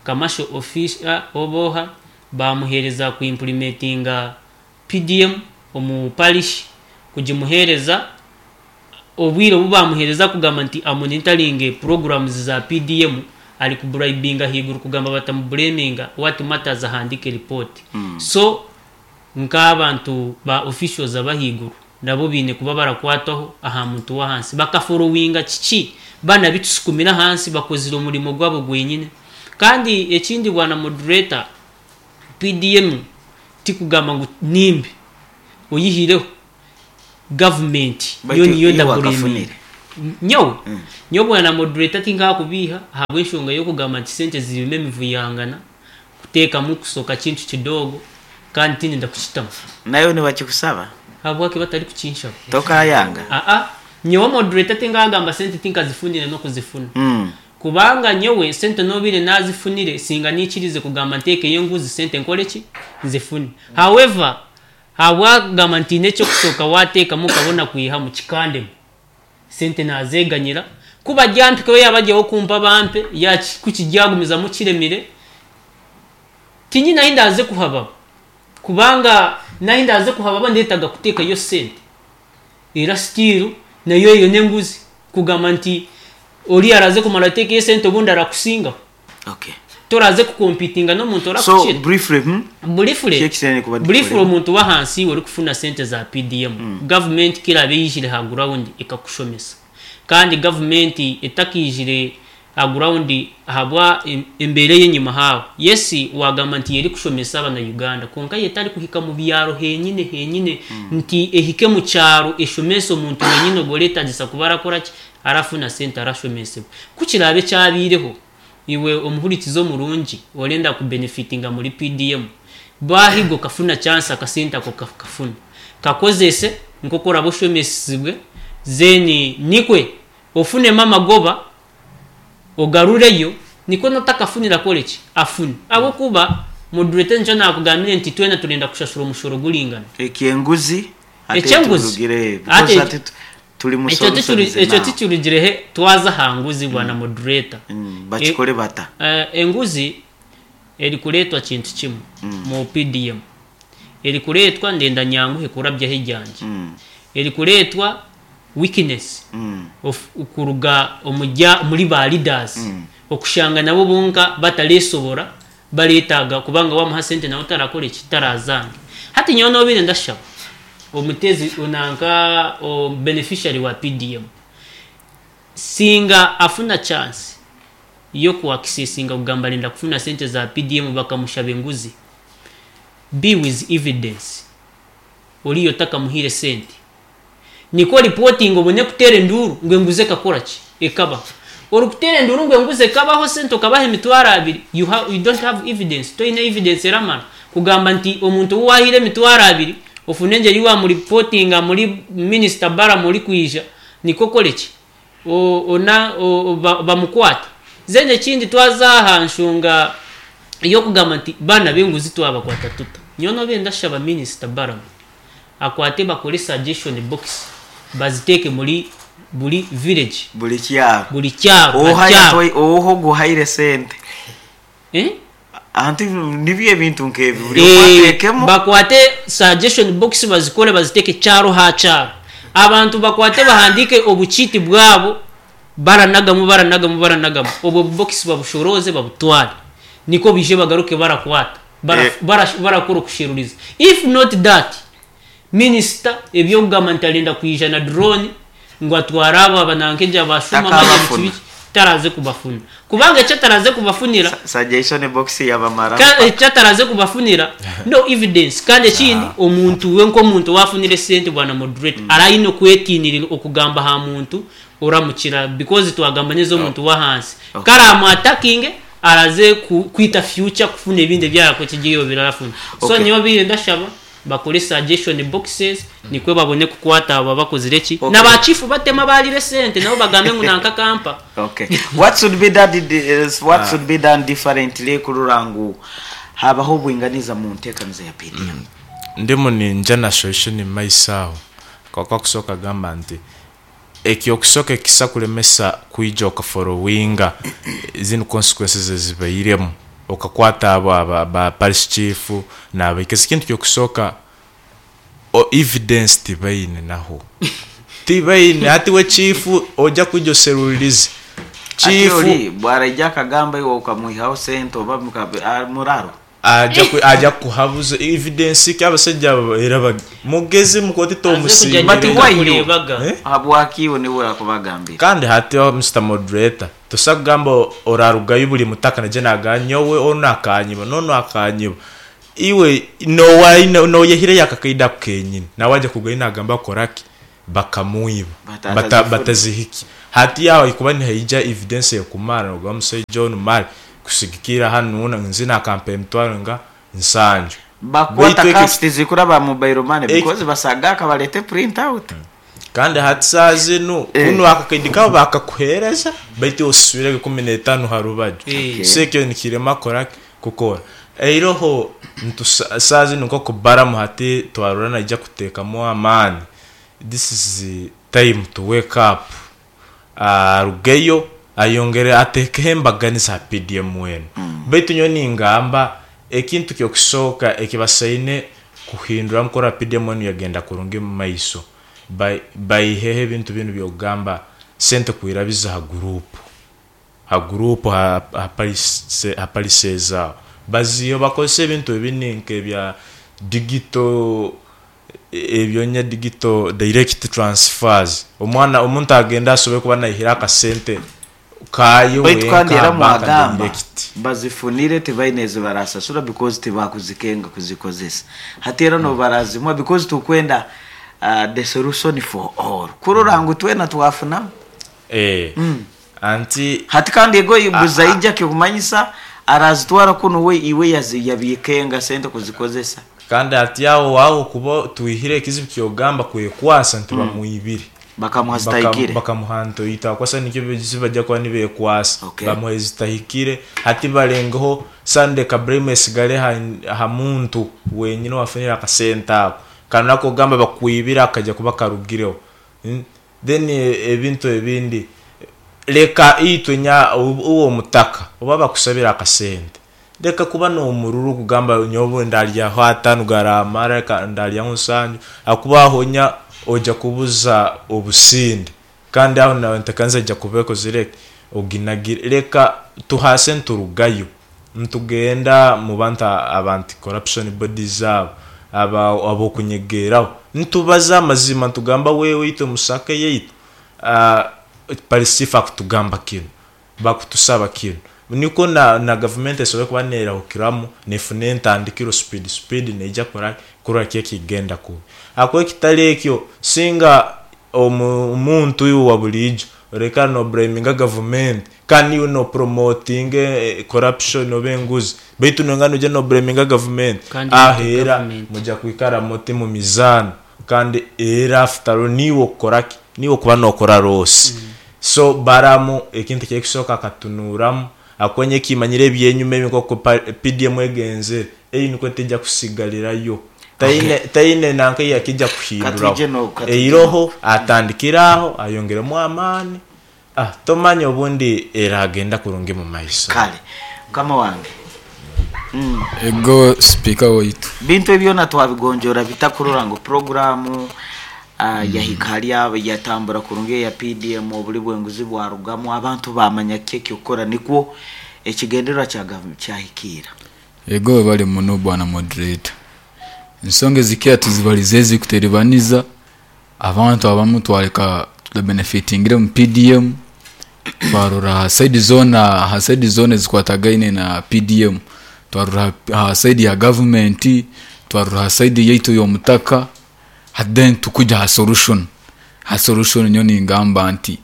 commercial officer oba oha bamuheereza ku implementinga PDM omu parish kugimuheereza obwire obu bamuheereza kugamba nti amonitaringe programs za PDM ari kuburayibinga ahaiguru kugamba batamubureminga what matters ahandike report. So nk'abantu ba officials abahaiguru nabo baine kuba barakwataho aha muntu w'ahansi bakaforowinga kiki bana bitusukumire ahansi bakozire omurimo gwabo gwenyine. Kandi ekindi bwana moderator, PDM tikugamba ngu nimbi, oyihireho gavumenti yo Baitu niyo iwe ndabureminga. wakafunire. Nyowe nyowe bwana moderator tinkakubiiha ahabw'enshonga y'okugamba nti sente zirimu emivuyangana kuteekamu kusoka kintu kidogo kandi tindenda kukitamu. Nayo nibakikusaba? Habwaki batari kukinshaba? Tokayanga? Aa, nyowe moderator tinkagamba sente tinkazifunire n'okuzifuna. Kubanga nyowe sente nobire nazifunire singa nikirize kugamba ntekeyo enguzi sente nkore ki nzifune. However, habwagamba nti n'ekyokusooka wateekamu okabona kwihamu kikandemu. Sente nazeganyira kuba gyampikeho yabagyeho kumpa bampe kukigyagumizamu kiremire tinyine ahi ndaze kuhababa. Kubanga nahi ndaze kuhababa ndetaga kuteekayo sente. Era still nayo eyo n'enguzi kugamba nti ori araze kumara ateekeyo sente obundi arakusingaho. Okay. Toraze kukompitinga n'omuntu So orakukira. briefly, Briefly, Kyekisene kuba briefly dikore. omuntu w'ahansi ori kufuna sente za PDM. Government kirabe yijire ha ground ekakushomesa. Kandi government etakijire ha ground ahabwa embeera y'enyima haawe. Yes, wagamba nti yeri kushomesa abana Uganda, konka yetari kuhika mu byaro henyine henyine nti ehike mu kyaro eshomese omuntu wenyine ogoretagisa kuba arakora ki arafuna sente arashomesebwa. Kukirabe kyabireho iwe omuhurikizo murungi orenda kubenefitinga muri PDM bahigo kafuna chance akasente ako kafuna kakozese nkokora boshomesibwe zeni nikwe ofune mama goba ogarureyo niko natakafunira college afune abo kuba moderator njo nakugambire nti twena turenda kushashura omushoro gulingana. Ekyenguzi ate Ekyenguzi. turugire, Ate because ate turi ekyo musoro ekyo tikirugirehe twaza aha nguzi bwana moderator. Bakikore bata. Enguzi erikureetwa kintu kimwe mu PDM. Erikureetwa ndenda nyanguhe kurabyaho ejyanje. Erikureetwa weakness of kuruga omujya muri ba leaders. Okushanga nabo bonka bataresobora baretaga kubanga wamuha sente nawe utarakora iki tarazange. Hati nyowe nobire ndashaba omutezi onanka o beneficiary wa PDM singa afuna chance yo kuaccessinga kugamba renda kufuna sente za PDM bakamushaba enguzi, be with evidence oriyo takamuhire sente niko reporting obone kutera enduru ngo enguze kakora ki ekaba orukutera enduru ngo enguze ekabaho sente okabaha emitwaro abiri, you don't have evidence toine evidence eramara kugamba nti omuntu wahire emitwaro abiri ofune engeri wamuripotinga muri minister bara muri kwija niko kore ki ona bamukwata. Zene ekindi twaza nshunga yo kugamba nti bana b'enguzi twabakwata tuta nyono benda shaba minister bara akwate bakore suggestion box baziteke muri buri village buri kyaro buri kyaro ohaya toy oho guhaire sente anti nibye bintu nkebi buri kwatekemo bakwate suggestion box bazikore baziteke kyaro ha kyaro abantu bakwate bahandike obuchiti bwabo baranagamu baranagamu baranagamu obwo box babushoroze babutware niko bije bagaruke barakwata barakora kusheruriza. If not that minister ebyo government alinda kuija na drone ngo atwara aba banankeja bashuma maji taraze kubafuna kubanga icyo taraze kubafunira suggestion box yabamara icyo taraze kubafunira no evidence. Kandi ekindi omuntu we nko omuntu wafunire sente bwana moderate arayino kwetinirira okugamba ha muntu oramukira because twagamba neza omuntu wa hansi karamu attacking araze kwita future kufuna ebindi byako kigiyo birafuna. So niyo bire ndashaba bakore suggestion boxes nikwe babone kukwata aba bakozire ki n'abachifu batema balire sente nabo bagambe ngo nanka kampa. Okay, what should be done is what should be done differently kururangu habaho bwinganiza mu ntekanizo ya PDM. Ndimu ninja na solution myself kwa kusoka gamba nti ekyo kusoka ekisa kulemesa kuija okafollowinga zino consequences ezibairemu okakwata abo aba parish chief na ikesi kintu kyo kusoka o evidence tibaine naho tibaine ati we chief oja kujo serulirize Ati Chief ori bwaraija akagamba iwe okamwihaho sente oba muraro. Aja kukuhabuza evidence ki abasaija abo era mugezi mukoti Aze kujya tomusiimire. But why you? nibwo Eh? Habwaki iwe niwe akubagambira? Kandi hati Mr Moderator tosa kugamba orarugayo buri mutaka naija nagamba nyowe onu akanyiba nonu akanyiba iwe noyehireyo akakaidi ako kenyini nawe aja kurugayo nagamba bakoraki bakamwiba batazihikya hati aho kuba nihaija evidence ekumara nogamba omusaija onu mali kusigikira hanu nzi nakampa emitwaro nga nsanju. Bakwata Baitu cash tizikuraba mobile money because basaga akabalete print out. Kandi hati saaha zinu kunu akakaidi kabo bakakuhereza baitu osaswire 15 harubaju. So ekyo nikirema koraki kukora. Eiroho saaha zinu nk'okubaramu hati twarora naija kutekamu amaani. This is time to wake up. Arugeyo ayongere atekeho embaganiza ha PDM enu. Baitu nyowe ningamba ekintu ky'okusooka ekibasaine kuhinduramu kurora PDM enu yagenda kurungi omu maiso. Baiheho ebintu binu by'okugamba sente kwirabiza ha gurupu. Ha gurupu ha palise zaawe. Baziiho bakozesa ebintu ebindi nk'ebya digital ebyonya digital direct transfers. Omwana omuntu agenda asobole kuba naihira akasente kayo Baitu kandi wenka era banka mwagamba direct. Bazifunire tibaine ezibarasasura because tibakuzikenga kuzikozesa. Hati era no barazimwa because tukwenda the solution for all. Kurora ngu twena twafunamu. Anti hati kandi ego buzaija kyokumanyisa arazitwara kuno we iwe yabikenga sente kuzikozesa. Kandi ati aho aho kuba tuihire ekizibu kyogamba kwekwasa nti bamuibire. Bakamuha zitahikire. Bakamuha ntoyita kwasa nikyo bajja kuba nibekwasa. Bamuha zitahikire hati balengeho Sunday Kabrahim esigale ha muntu wenyine wafunira akasente ako. Kandi nako gamba bakuibira akajja kuba karugireho. Then ebintu ebindi leka itwe nya uwo mutaka oba bakusabira akasente. Leka kuba n'omururu kugamba nyobo ndaryaho atano garamara ka ndaryaho nsanju akubaho nya oja kubuza obusinde. Kandi aho nawe ntakanza ja kubeko zireke oginagire leka tuhase nturugayo ntugenda mu bantu abantu corruption bodies zabo abo kunyegeraho ntubaza amazima ntugamba wewe itwe musake yeitu parisifa kutugamba kino bakutusaba kino niko na government esobole kuba nerahukiramu nefune entandikiro speed neija kurora kigenda kubi. Akwe kitali ekyo singa omuntu uyu wa bulijo reka no blaminga government kandi you no promoting corruption obenguzi baitu nongano je no blaminga government ahera muja kwikara muti mu mizano kandi era after niwo koraki niwo kuba no kora rose. So baramu ekintu kyekisoka katunuramu akwenye kimanyire ebyenyuma ebikoko PDM egenze eyi niko tejja kusigalirayo taine nanka yakijja kuhindura eiroho atandikiraho ayongeremu amaani tomanya obundi era agenda kurungi mu maiso. Kale kama wange ego speaker waitu bintu ebyo na twabigonjora bitakurora ngo programu yahika yatambura kurungi ya PDM obuli bwenguzi bwarugamu abantu bamanya keki okora nikwo ekigendererwa kya kyahikira. Ego bali muno bwana moderator ensonga zikia tuzibalize zikuteribaniza abantu abamu twaleka benefitingire mu PDM twarora side zone ha side zone zikwatagaine na PDM twarora ha side ya government twarora side yaitu yomutaka then tukuja ha solution nyoni ngamba nti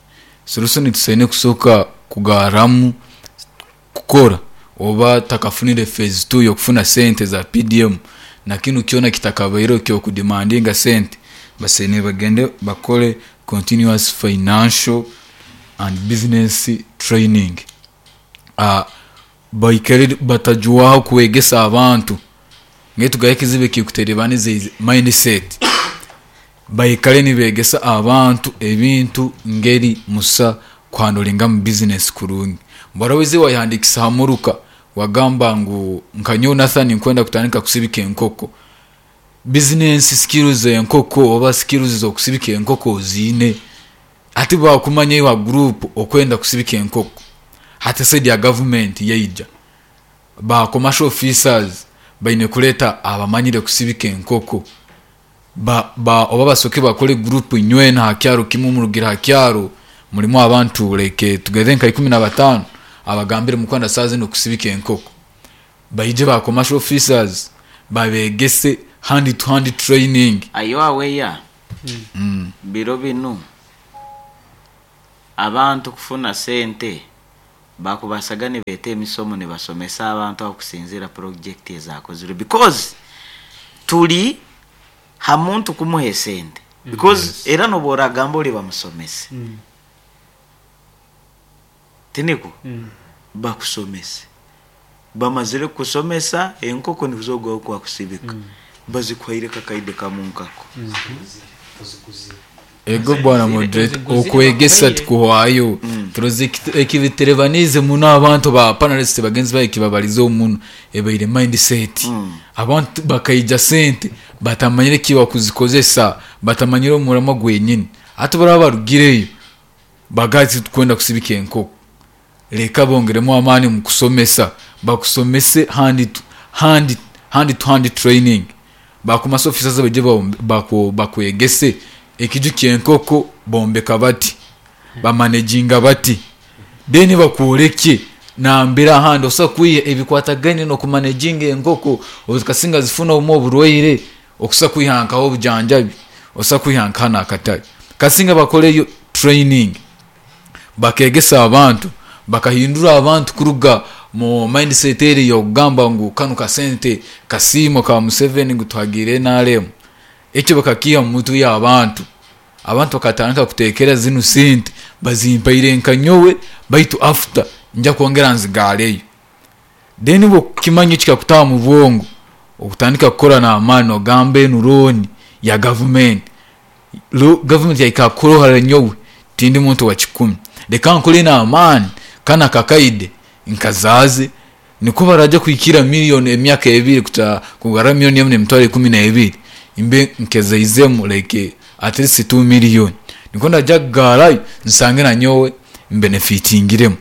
solution tusaine kusoka kugaramu kukora oba takafunire phase 2 yokufuna sente za PDM na kinu kiona kitakabairo kyo kudemandinga sente basene bagende bakole continuous financial and business training baikere batajuwaho kuwegesa abantu ngetu gaye kikuterebanize mindset baikale nibegesa abantu ebintu ngeri musa kuhandolinga mu business kurungi baraweze wayihandikisa hamuruka wagamba ngu nkanyo Nathan nkwenda kutandika kusibika enkoko business skills enkoko oba skills zo kusibika enkoko zine ati bakumanya iwa group okwenda kusibika enkoko. Hati side ya gavumenti yaija, ba commercial officers baine kureeta abamanyire kusibika enkoko. Ba, ba, oba basoke bakore group nywena aha kyaro kimwe murugire aha kyaro murimu abantu like tugeze nka 15 abagambire mukwenda saaha zinu kusibika enkoko. Baije ba commercial officers babegese hand to hand training. Are you aware biro binu abantu kufuna sente bakubasaga nibeeta emisomo nibasomesa abantu aho kusinziira project ezakozirwe because turi ha muntu kumuha esente because era nobu oragamba ori bamusomese tinikwo bakusomese bamazire kukusomesa enkoko nizo ogwaho kwakusibika bazikuhaire kakaide kamu nkako. Ego bwana moderator, okwegesa tikuhwayo. Turoze ekibiterebaniize muno abantu ba panelists bagenzi baye ekibabarizeho muno ebaire mindset. Abantu bakaija sente batamanyire eki bakuzikozesa, batamanyire omuramwa gwenyini. Hati baraba barugireyo bagaati tukwenda kusibika enkoko. Reka bongeremu amaani omu kusomesa, bakusomese hand to hand, hand to hand training. Ba commercial officers baije bakwegese ekiju ky'enkoko bombeka bati, bamanaginga bati, then bakworeke nambere ahandi osobola kwiha ebikwatagaine n'okumanaginga enkoko, okasinga zifuna obumwe oburwaire okusobola kwiha nkaho obujanjabi, osobola kwiha nkaha n'akatare. Kasinga bakoreyo training, bakegesa abantu, bakahindura abantu kuruga mu mindset eri y'okugamba ngu kanu kasente kasiimo ka Museveni ngu tuhagiire NRM. Ekyo bakakiiha omu mitwe y'abantu. Abantu bakatandika kutekereza zinu sente bazimpaire nka nyowe baitu after nja kwongera nzigareyo. Then obu okukimanya kikakutaha omu bwongo, okutandika kukora n'amaani nogamba enu loan ya gavumenti. Gavumenti yahika kurohara nyowe tindi muntu wa kikumi. Reka nkore n'amaani kanu akakaide nkazaaze nikwo baraija kuhikira million emyaka ebiri kugarra million emu n'emitwaro ikumi n'ebiri mbe nkezaizemu like at least 2 million. Nikwo ndaija kugaarayo nsange nanyowe mbenefitingiremu.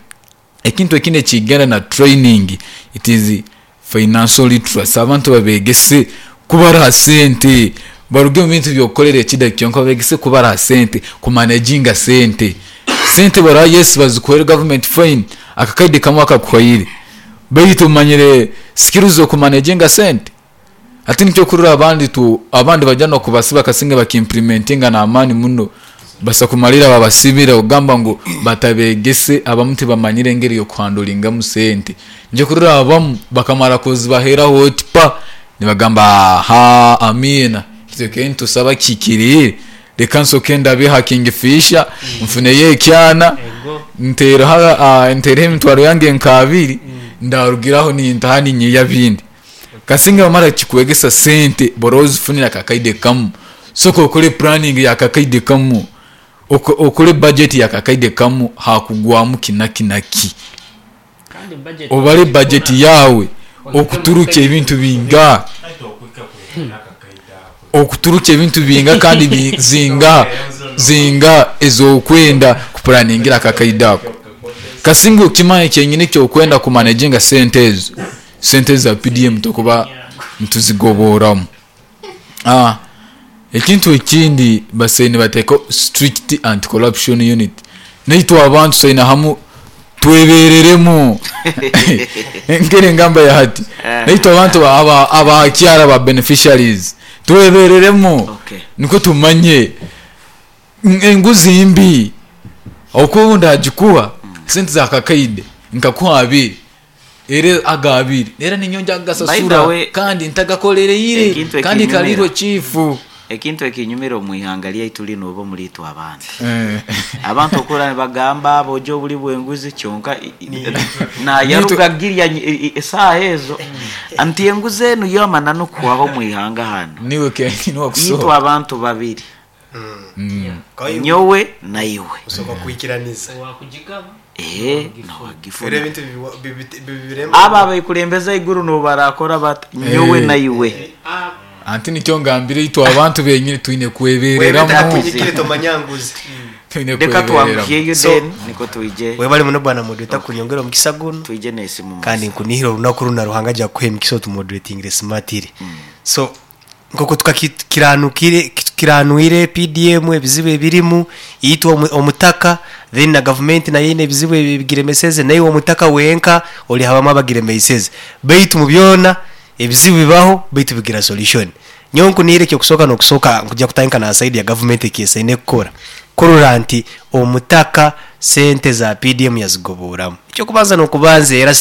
Ekintu ekindi ekigenda na training it is financial literacy, abantu babegese kubara sente, baruge omu bintu by'okukorera ekida kyonka babegese kubara sente, kumanaginga sente. Sente baraba yes bazikuhaire government fine, akakaide kamwe akakuhaire, baitu omanyire skills z'okumanaginga sente? Hati nikyo okurora abandi tu abandi baija n'okubasiba kasinge bakimplementinga n'amaani muno, basa kumalira babasibire okugamba ngu batabegese abamu tibamanyire engeri y'okuhandolingamu sente. Nikyo okurora abamu bakamara kuzibaheraho oti pa nibagamba ahaa amiina itwe keye nitusaba kihikiriire reka nsoke ndabe ha kingfisher nfuneyo ekyana ntereho ntereho emitwaro yange nka abiri ndarugiraho nintaha ninyiya ebindi. Kasinge bamara kikwegesa sente bora ozifunire akakaide kamu, soka okore planning ya kakaide kamu, okore budget ya kakaide kamu hakugwamu ki naki naki. Obare budget yawe okuturukya ebintu binga, okuturukya ebintu binga kandi zinga zinga ezokwenda kupulaningira akakaide ako. Kasinge okimanya kyenyini ekyokwenda kumanaginga sente ezo. Sente za PDM tukuba nituzigoboramu. Ekintu ekindi basaine nibateekaho strict anti corruption unit. Naitwe abantu tusaine hamu twebereremu. Nkeri engamba ya hati. Naitwe abantu aba kyaro aba beneficiaries twebereremu nikwo tumanye enguzi mbi. Ahabw'okuba obu ndagikuha sente za kakaide nkakuha abiri. Era aga abiri era ninyowe nja By the kugasasura way, kandi ntagakolereire ekintu kandi ekinyumira kariirwe chifu. ekintu ekinyumira omu ihanga ryaitu rinu oba omuri itwe abantu. Abantu okura nibagamba abojo oburi bw'enguzi kyonka nayaruga girya esaaha ezo nti enguzi enu yo amananu kuhwaho omu ihanga hanu. Niiwe kenyini Itwe wakusohoka. abantu babiri. Nyowe na iwe. Osooka kwikiraniza. Owakugigaba Eeh Era nowagifuna. ebintu bibirema. Abo abekurembeza eiguru nobu barakora bata nyowe na iwe. Anti nikyo ngambire itwe abantu benyini twine kwebereramu. Webeta kunyikire tomanya nguzi. Twine Reka kwebereramu. twanguhyeyo So, then nikwo twije webale muno bwana moderator kunyongera omukisa gunu. Twije n'esimu Kandi masa. nkunihira olunaku runa Ruhanga aja kukuha emikisa otumoderatingire smartly. So nk'oku tukakiranukire kiranwire PDM ebizibu ebirimu itwe omutaka then na gavumenti nayo eine ebizibu ebigiremeseze naiwe omutaka wenka ori habamu abagiremeiseze beitu mu byona ebizibu bibaho beitu bigira solution. Nyowe nkunihira ekyokusooka n'okusooka nkuja kutandika na side ya gavumenti eki esaine kukora kurora nti omutaka sente za PDM yazigoboramu. Ekyokubanza n'okubanza era.